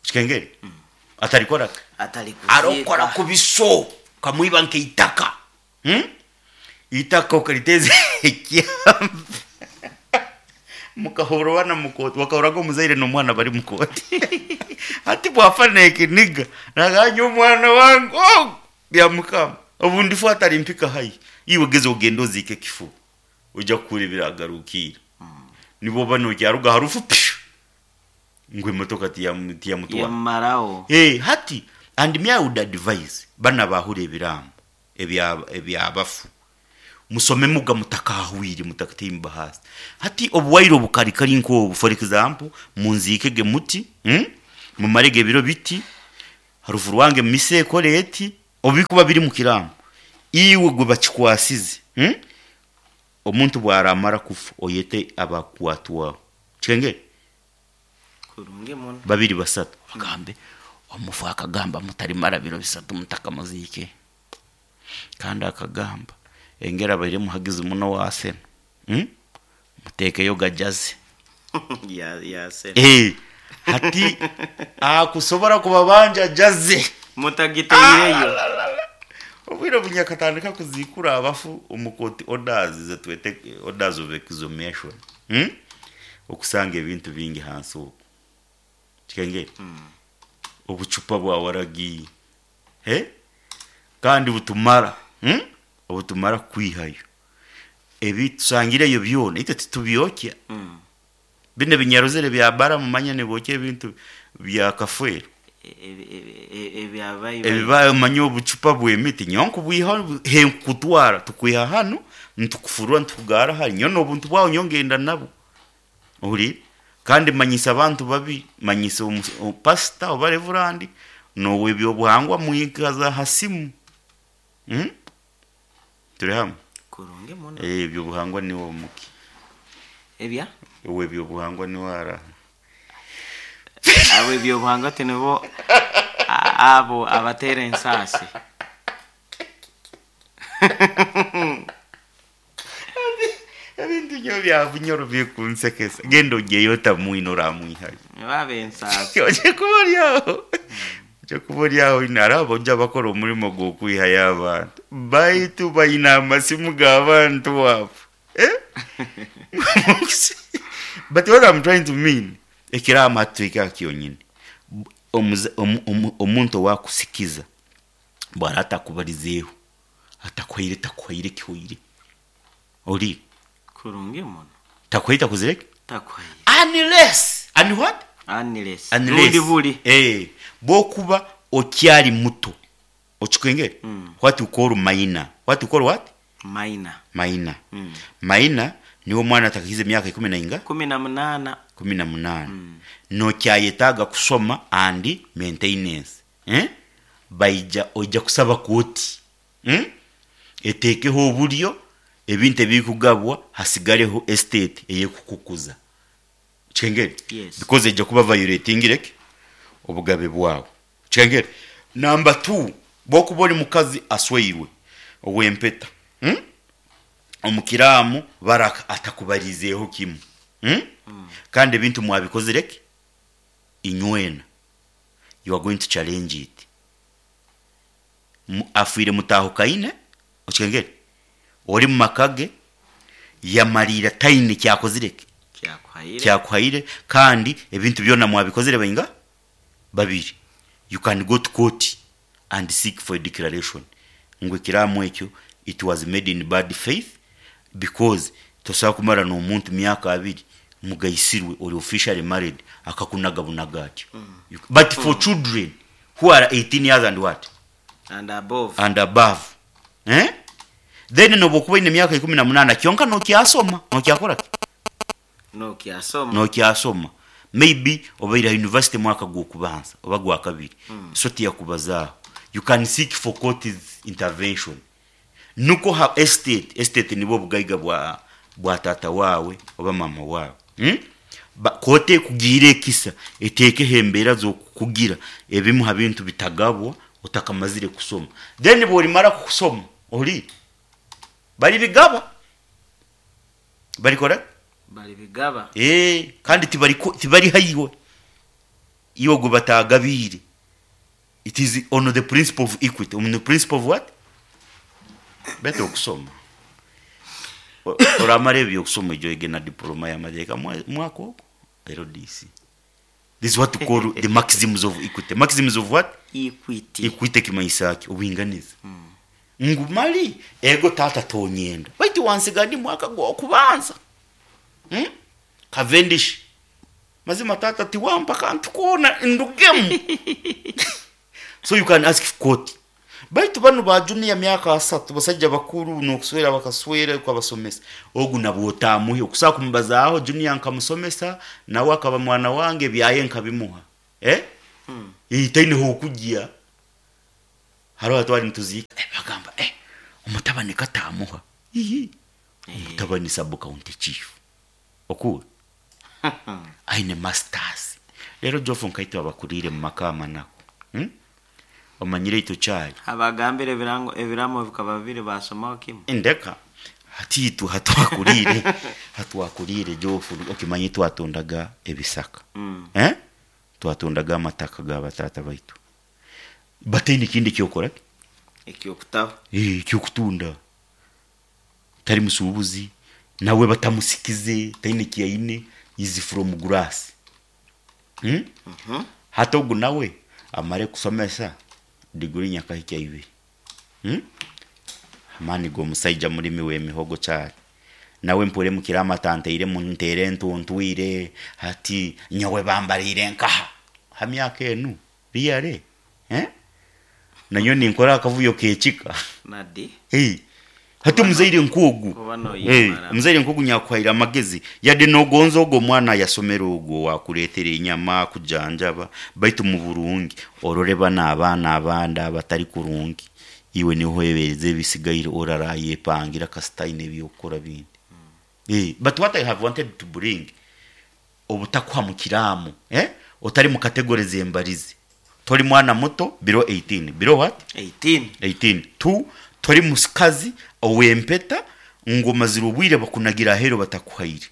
Speaker 2: Kikengeri? Atarikora ki?
Speaker 1: Atarikuziika.
Speaker 2: Arokora kubi so okamwiba nk'eitaka. Hmm? Eitaka okariteeza ekyamba. Mukahurwana mu kooti, wakahurraga omuzaire n'omwana bari mu kooti. Hati bwafa n'ekiniga, nagamba nyowe omwana wange ogu, byamukama, obu ndifa atarimpika haihi. Iwe geza ogende oziike ekifuba, oija kuhurra ebiragarukiire. Nibwo oba nokyaruga aha rufu, pshu! Ngu emotoka tiyamutwara.
Speaker 1: Yamumaraho.
Speaker 2: Eh, hati and me I would advise banu abahura ebiraamo ebya ebya bafu, Musomemuga mutakahwire mutakataimba ahansi. Hati obuwaire obukari kari nk'obu, for example, munziikege muti, mumarege ebiro biti, harufu rwange misa ekore eti, obu bikuba biri mu kiraamo, iwe gwe bakikwasize, omuntu bu aramara kufa oyete abakukwatwaho. Kikengere?
Speaker 1: Kurungi muno.
Speaker 2: Babiri basatu bagambe, omufu akagamba mutarimara biro bisatu mutakamuziikire. Kandi akagamba, engeri abaire muhagizi muno owa Arsenal, muteekeyo gajaze.
Speaker 1: Ya ya Arsenal.
Speaker 2: Eh, hati akusobora kubabanja ajaze.
Speaker 1: Mutagiteireyo.
Speaker 2: Obwire obu nyakatandika kuziikura abafu omu court orders zetwete orders of exhumation, Okusanga ebintu bingi hansi okwo. Kikengeri? Obucupa bwa waragi, eh? Kandi butumara, Obutumara kwihayo. Ebi tusangireyo byona itwe titubyokya. Binu ebinyarozere bya baramu manya nibokya ebintu bya kafeero.
Speaker 1: Ebya baibai.
Speaker 2: Ebi manya obucupa bw'emiti nyowe nkubwiha he nkukutwara tukwiha hanu nitukufurura nitukugara hari nyowe n'obuntu bwawe nyowe ngenda nabwo. Ohuriire? Kandi manyisa abantu babi, manyisa pasita oba revurandi n'ow'eby'obuhangwa mwikaza ha simu. Turi hamwe?
Speaker 1: Kurungi muno.
Speaker 2: Eh, eby'obuhangwa niwe omuki.
Speaker 1: Ebya?
Speaker 2: Ow'eby'obuhangwa niwe araha.
Speaker 1: Abo eby'obuhangwa tinibo abo abateera ensaasi.
Speaker 2: Ebintu nyowe bya Bunyoro bikunsekesa. Genda ogyeyo otamwine oramwihayo.
Speaker 1: Nibo ab'ensaasi.
Speaker 2: Oje kuba ori aho. Oje kuba ori aho oine hariho abojo abakora omurimo gw'okwihayo abantu. Baitu baine amasimu g'abantu abo. Eh? But what I'm trying to mean, ekiraama hati tuhike aha kyonyini. Omuza omu omu omuntu owaakusikiza bw'araba atakubarizeeho, atakuhaire takuhaire kihoire. Ori?
Speaker 1: Kurungi muno.
Speaker 2: Takuhaire takozire ki?
Speaker 1: Takuhaire.
Speaker 2: Unless, un what?
Speaker 1: Unless.
Speaker 2: Unless.
Speaker 1: Rundi buri.
Speaker 2: Eh, bw'okuba okyari muto, okikwengere? What we call minor. What we call what?
Speaker 1: Minor.
Speaker 2: Minor. Minor niwe omwana atakahikize emyaka ikumi na inga?
Speaker 1: 18.
Speaker 2: 18. Nokyayetaaga kushoma and maintenance. Eh? Baija, oija kusaba kooti. Eteekeho oburyo ebintu ebirikugabwa hasigareho estate ey'ekukukuza. Okihengere?
Speaker 1: Yes.
Speaker 2: Because eija kuba violatingire ki? Obugabe bwawe. Okihengere? Number two, bw'okuba ori mukazi asweirwe ow'empeta, omu kiraamu Baraka atakubariizeeho kimwe, kandi ebintu mwabikozire ki? Inywena. You are going to challenge it. Afwire mutahukaine, okihengere? Ori mu maka ge, yamariira taine ki akozire ki? Kyakuhaire, kandi ebintu byona mwabikozire bainga? Babiri. You can go to court and seek for a declaration ngu ekiraamo ekyo it was made in bad faith because tosobola kumara n'omuntu myaka abiri mugaisirwe ori officially married akakunaga bunaga atyo. But for children who are 18 years and what?
Speaker 1: And above.
Speaker 2: And above. Eh? Then nobu okuba oine emyaka 18 kyonka nokyasoma, nokyakora ki?
Speaker 1: Nokyasoma.
Speaker 2: Nokyasoma. Maybe obaire aha university mwaka gw'okubanza oba gwakabiri, so tiyakubazaaho. You can seek for court's intervention. Nukwo ha estate, estate nibwo obugaiga bwa bwa taata waawe oba maama waawe. Ba kooti ekugiire ekisa eteekeho embeera z'okukugira ebimu ha bintu bitagabwa otakamazire kusoma. Then bworimara kusoma, ohuriire? Baribigaba. Barikora ki?
Speaker 1: Baribigaba.
Speaker 2: Ee, kandi tibariku tibariha iwe, iwe ogwo batagabiire. It is on the principle of equity, on the principle of what? Better okusoma. Oramara eby'okusoma oije oyege na diploma y'amateeka mwaka ogwo, LDC. This is what we call the maxims of equity. Maxims of what?
Speaker 1: Equity.
Speaker 2: Equity ekimanyisa ki? Obwinganiza. Ngu mali ego taata tonyenda baitu wansiga ndi mwaka gw'okubanza. Cavendish. Mazima taata tiwampa kantu koona ndugemu. So you can ask court. Baitu banu ba junior myaka asatu basajja bakuru n'okuswera bakaswera ukabasomesa. Ogu nabwo otamuhe okusobola kumubazaaho junior nkamusomesa nawe akaba mwana wange ebyaye nkabimuha. Eh? Eh, taine h'okugya. Hariho ahu twali nituziika eh, bagamba eh, omutabani katamuha. Ihi. Omutabani sub county chief. Okuura. Aine masters. Rero Jofu nkaitwe abakuriire mu maka amanaku. Omanyire itwe kyali.
Speaker 1: Abagambire ebirango ebiramo bikaba bibiri basomaho kimwe.
Speaker 2: Ndeka hati itwe hatwakuriire hatwakuriire Jofu okimanyi twatundaga ebisaka. Eh? Twatundaga amataka ga bataata baitu. Bataine kindi ekyokora ki?
Speaker 1: Ekyokutaho.
Speaker 2: Eh, ekyokutunda. Tari musuubuzi, nawe batamusikize, taine eki aine, is from grass. Hati ogu nawe amare kusomesa diguri nyakahikya ibiri. Amaani g'omusaija murimi w'emihogo kyari. Nawe mpure mukira amata ntairemu nteere entuntwire, hati nyowe bambariire nkaha? Ha myaka enu? Really? Eh? Nanyowe ninkora akavuyo k'ekika.
Speaker 1: Nadi.
Speaker 2: Eh. Hati omuzaire nk'ogu,
Speaker 1: Kuba
Speaker 2: eh,
Speaker 1: noyemara.
Speaker 2: omuzaire nk'ogu nyakuhaire amagezi, yade nogonza ogu omwana ayasomere ogu owakureetera enyama, akujanjaba, baitu mu burungi orore banu abaana abandi abatari kurungi, iwe niho oheereza ebisigaire orarayepangira kasita aine eby'okukora bindi. Eh, but what I have wanted to bring, obutakuha mu kiraamo, eh, otari mu category zembarize. Tori mwana muto below 18, below what?
Speaker 1: 18.
Speaker 2: 18. Two, tori mukazi ow'empeta ngu omazire obwire bakunagira aheeru batakuhaire.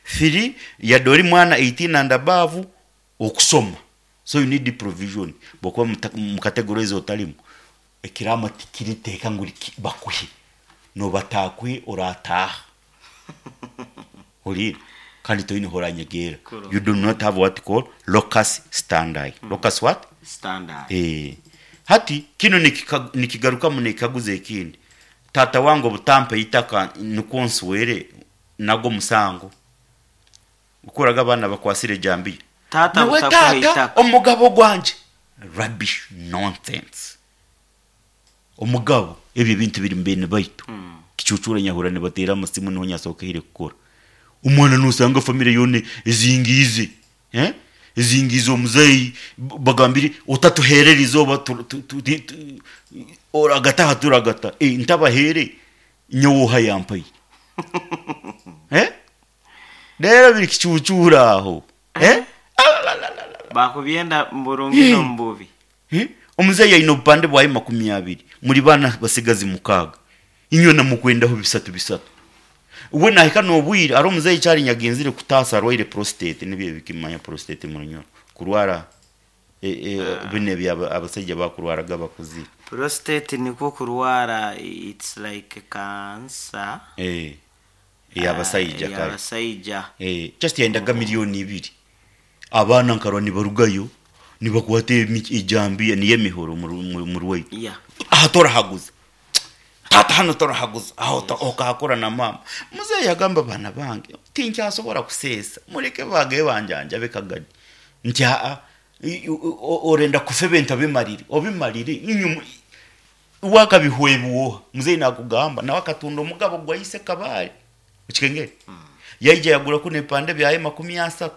Speaker 2: Three, yade ori mwana 18 and above, okusoma. So you need provision. Bwokuba mu category ezo otarimu, ekiraamo tikiriteeka ngu bakuhe. Nobataakuhe orataaha. Ohuriire? Kandi toine horanyegera. You do not have what call locus standi. Locus what?
Speaker 1: Standi.
Speaker 2: Eh. Hati kinu nikigarukamu n'ekikaguzo ekindi. Taata wange obutampa eitaka nikwo nswere nagwo musango? Okoraga abaana bakwasire ejambiya.
Speaker 1: Taata
Speaker 2: Niwe
Speaker 1: butakuha
Speaker 2: taata
Speaker 1: eitaka.
Speaker 2: omugabo gwangye. Rubbish, nonsense. Omugabo, ebyo ebintu biri mu beene baitu. Kicuucuura nyahurira nibateera amasimu niho nyasookeire kukora. Omwana noosanga famire yoona ezingiize, eh, ezingiize omuzeeyi bagambire otatuheera erizooba oragata aha turagata. Eh, ntabaheere nyowe oha yampaire? Eh? Reero biri kicuucuura aho. Eh? Alalalalala.
Speaker 1: Bakubyenda mu burungi n'omu bubi.
Speaker 2: Eh? Omuzeeyi aine obupande bwaye 20, muri baana basigazi mukaaga. Inywena mukwendaho bisatu bisatu. We nahika n'obwire, hariho omuzeeyi kyari nyagenzire kutaasa arwaire prostate, nibyo ebikimanya prostate mu Runyoro. Kurwara binu ebi abasaija bakurwaraga abakuzire.
Speaker 1: Prostate nikwo kurwara it's like cancer.
Speaker 2: Eh, ey'abasaija kare.
Speaker 1: Ey'abasaija.
Speaker 2: Eh, just yayendaga milioni ibiri. Abaana nkarora nibarugayo nibakwata ejambiya niyo emihoro omu rwaitu.
Speaker 1: Yeah.
Speaker 2: Aha torahaguza. Taata hanu torahaguza. Aho okahakora na maama. Muzeeyi yagamba baana bange tinkyasobora kuseesa. Mureke bagaye banjanjabe kagadi. Nti aa orenda kufa ebintu obimarire. Obimarire. Inywe wakabihwebwoha. Muzeeyi nakugamba nawe akatunda omugabo gwa ise Kabale. Okikengere? Yaija yagura kunu ebipande byaye 30.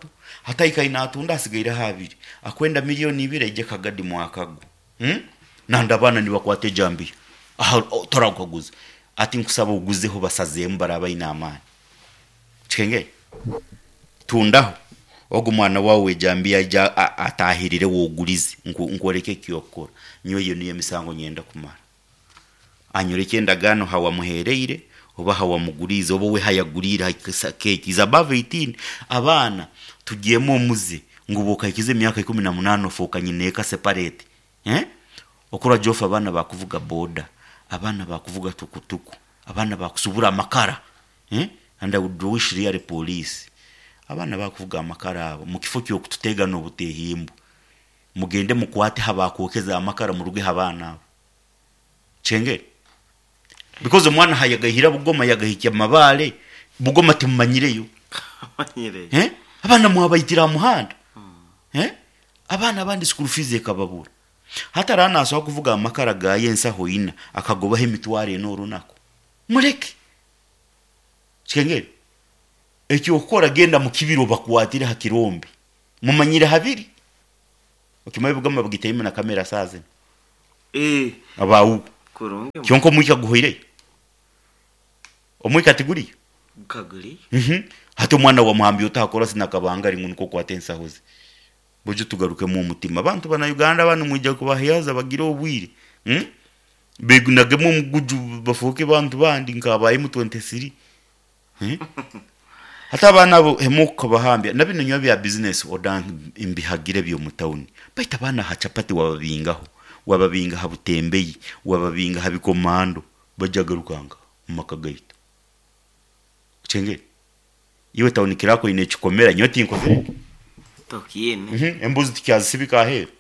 Speaker 2: Hati aikaire natunda hasigaireho abiri. Akwenda milioni ibiri aije Kagadi mwaka gwo. Nandi abaana nibakwata ejambiya. Aha torakukaguza. Ati nkusaba oguzeho basazeemu baraba baine amaani. Okikengere? Tundaho. Ogu mwana waawe w'ejambiya aije atahirire wogurize. Nkwoleke ekyokukora. Nyowe eyo niyo emisango nyenda kumara. Anyoreke endagaano hawamuhereire oba hawamuguriize oba we hayaguriire keeki is above 18. Abaana tugyemu omuze ngu bwokahikiza emyaka 18 ofooka nyineeka separate. Eh? Okurora Geoff abaana bakuvuga boda, abaana bakuvuga tukutuku, abaana bakusubura amakara. Eh? And I would wish really police. Abaana bakuvuga amakara abo mukifo ky'okututega n'obutehimbu. Mugende mukwate habakwokeza amakara murugeho abaana abo. Kyengere? Because omwana hayagahira Bugoma yagahikya Mabale, Bugoma timumanyireyo.
Speaker 1: Manyireyo.
Speaker 2: Eh? Abaana mwabaitira aha muhanda. Eh? Abaana abandi school fees ekababura. Hati araba naasobola kuvuga amakara gaayo ensaho ina akagobaho emitwaro ena orunaku. Mureke. Kikengeri. Eky'okukora genda mu kibira obakwatire ha kirombe. Mumanyire habiri. Okimanyi ebugama bagitairemu na kamera saaha zinu.
Speaker 1: Eh,
Speaker 2: Abawuku.
Speaker 1: kurungi
Speaker 2: Kyonka omwika guhoireyo. Omwika tiguriyo.
Speaker 1: kaguri.
Speaker 2: Hati omwana wamuhambya ota hakora sinakabangari ngu nikwo okwata ensaho ze. Buju tugarukemu omutima. Abantu bana Uganda banu mwija kubahiyaza bagire obwire. Begunagemu omuguju bafuuke bantu bandi nka ba M23. Hati abaana abo hemu okukabahambya na bino nyowe bya business oda mbihagire by'omu tawuni. Baitu abaana ha chapati wababingaho, wababinga ha butembeyi, wababinga ha bikomando, bajja garukanga omu maka gaitu. Kyengere. Iwe tawuni kirako oine ekikomera nyowe tinkozire.
Speaker 1: Tokiine.
Speaker 2: Embuzi tikyazisibika aheeru.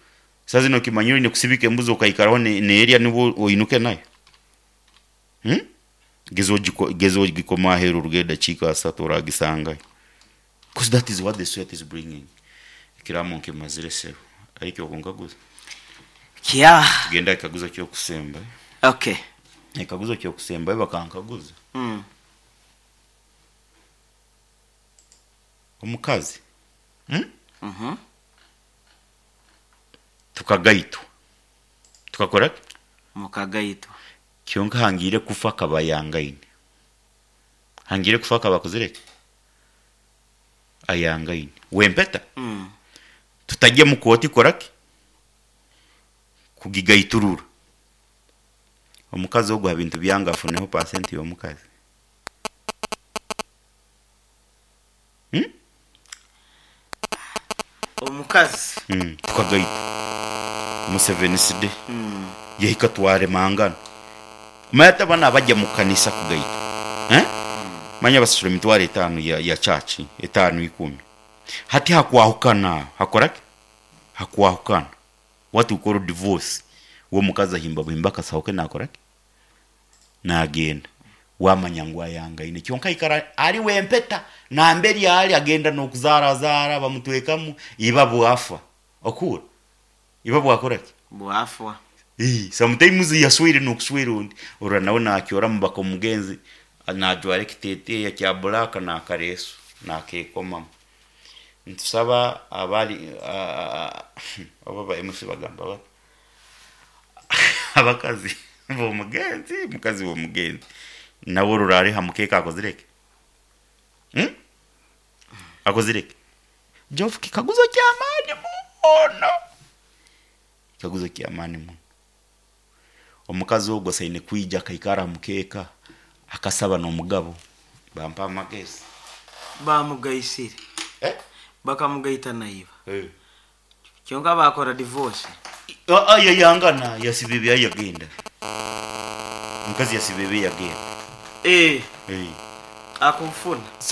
Speaker 2: Saaha zinu okimanyire oine kusibika embuzi okaikaraho neerya nibwo oinuke nayo. Geza ogiko geza ogikome aheeru oruge edakiika asatu oragisangayo. Because that is what the sweat is bringing. Ekiraamo nkimazire sebo. Ariko okunkaguza.
Speaker 1: Kya.
Speaker 2: Tugende aha kikaguzo ky'okusembayo.
Speaker 1: Okay.
Speaker 2: Ekikaguzo ky'okusembayo bakankaguza. Omukazi. Tukagaitwa. Tukakora ki?
Speaker 1: Mukagaitwa.
Speaker 2: Kyonka hangiire kufa akaba ayangaine. Hangiire kufa akaba akozire ki? Ayangaine. Wempeta? Tutajya mu kooti kukora ki? Kugigaiturura. Omukazi ogu aha bintu byange afuneho pasenti y'omukazi.
Speaker 1: Omukazi.
Speaker 2: Tukagaitwa. Museveni side. Yahika twaremangana. Manya hati abana abajya mu kanisa kugaitwa. Manya basasura emitwaro etaano ya church, etaano ikumi. Hati hakwahukana, hakora ki? Hakwahukana. What we call divorce. We omukazi ahimba buhimba akasaho ke nakora ki? Nagenda. Wamanya ngu ayangaine. Kyonka aikara ari wempeta, namberi ari agenda n'okuzaarazaara bamutwekamu, iba bwafa. Okuhurra? Iba bwakora ki?
Speaker 1: Bwafwa.
Speaker 2: Sometimes yaswire n'okuswera ondi, orora nawe nakyoramu baka omugenzi najwara ekiteteeya kya black n'akareesu nakekomamu. Nitusaba abari oba ba MC bagamba bata? Abakazi b'omugenzi, mukazi w'omugenzi nawe orora ari ha mukeeka akozire ki? Akozire ki? Jofu kikaguzo ky'amaani muno. Kikaguzo ky'amaani muno. Omukazi ogwo asaine kwija akaikara aha mukeeka akasaba n'omugabo bampa amagezi.
Speaker 1: Bamugaisire. Bakamugaita naiba. Kyonka bakora divorce.
Speaker 2: Yayangana yasiba ebyaye yagenda. Omukazi yasiba ebye yagenda.
Speaker 1: Akunfuna.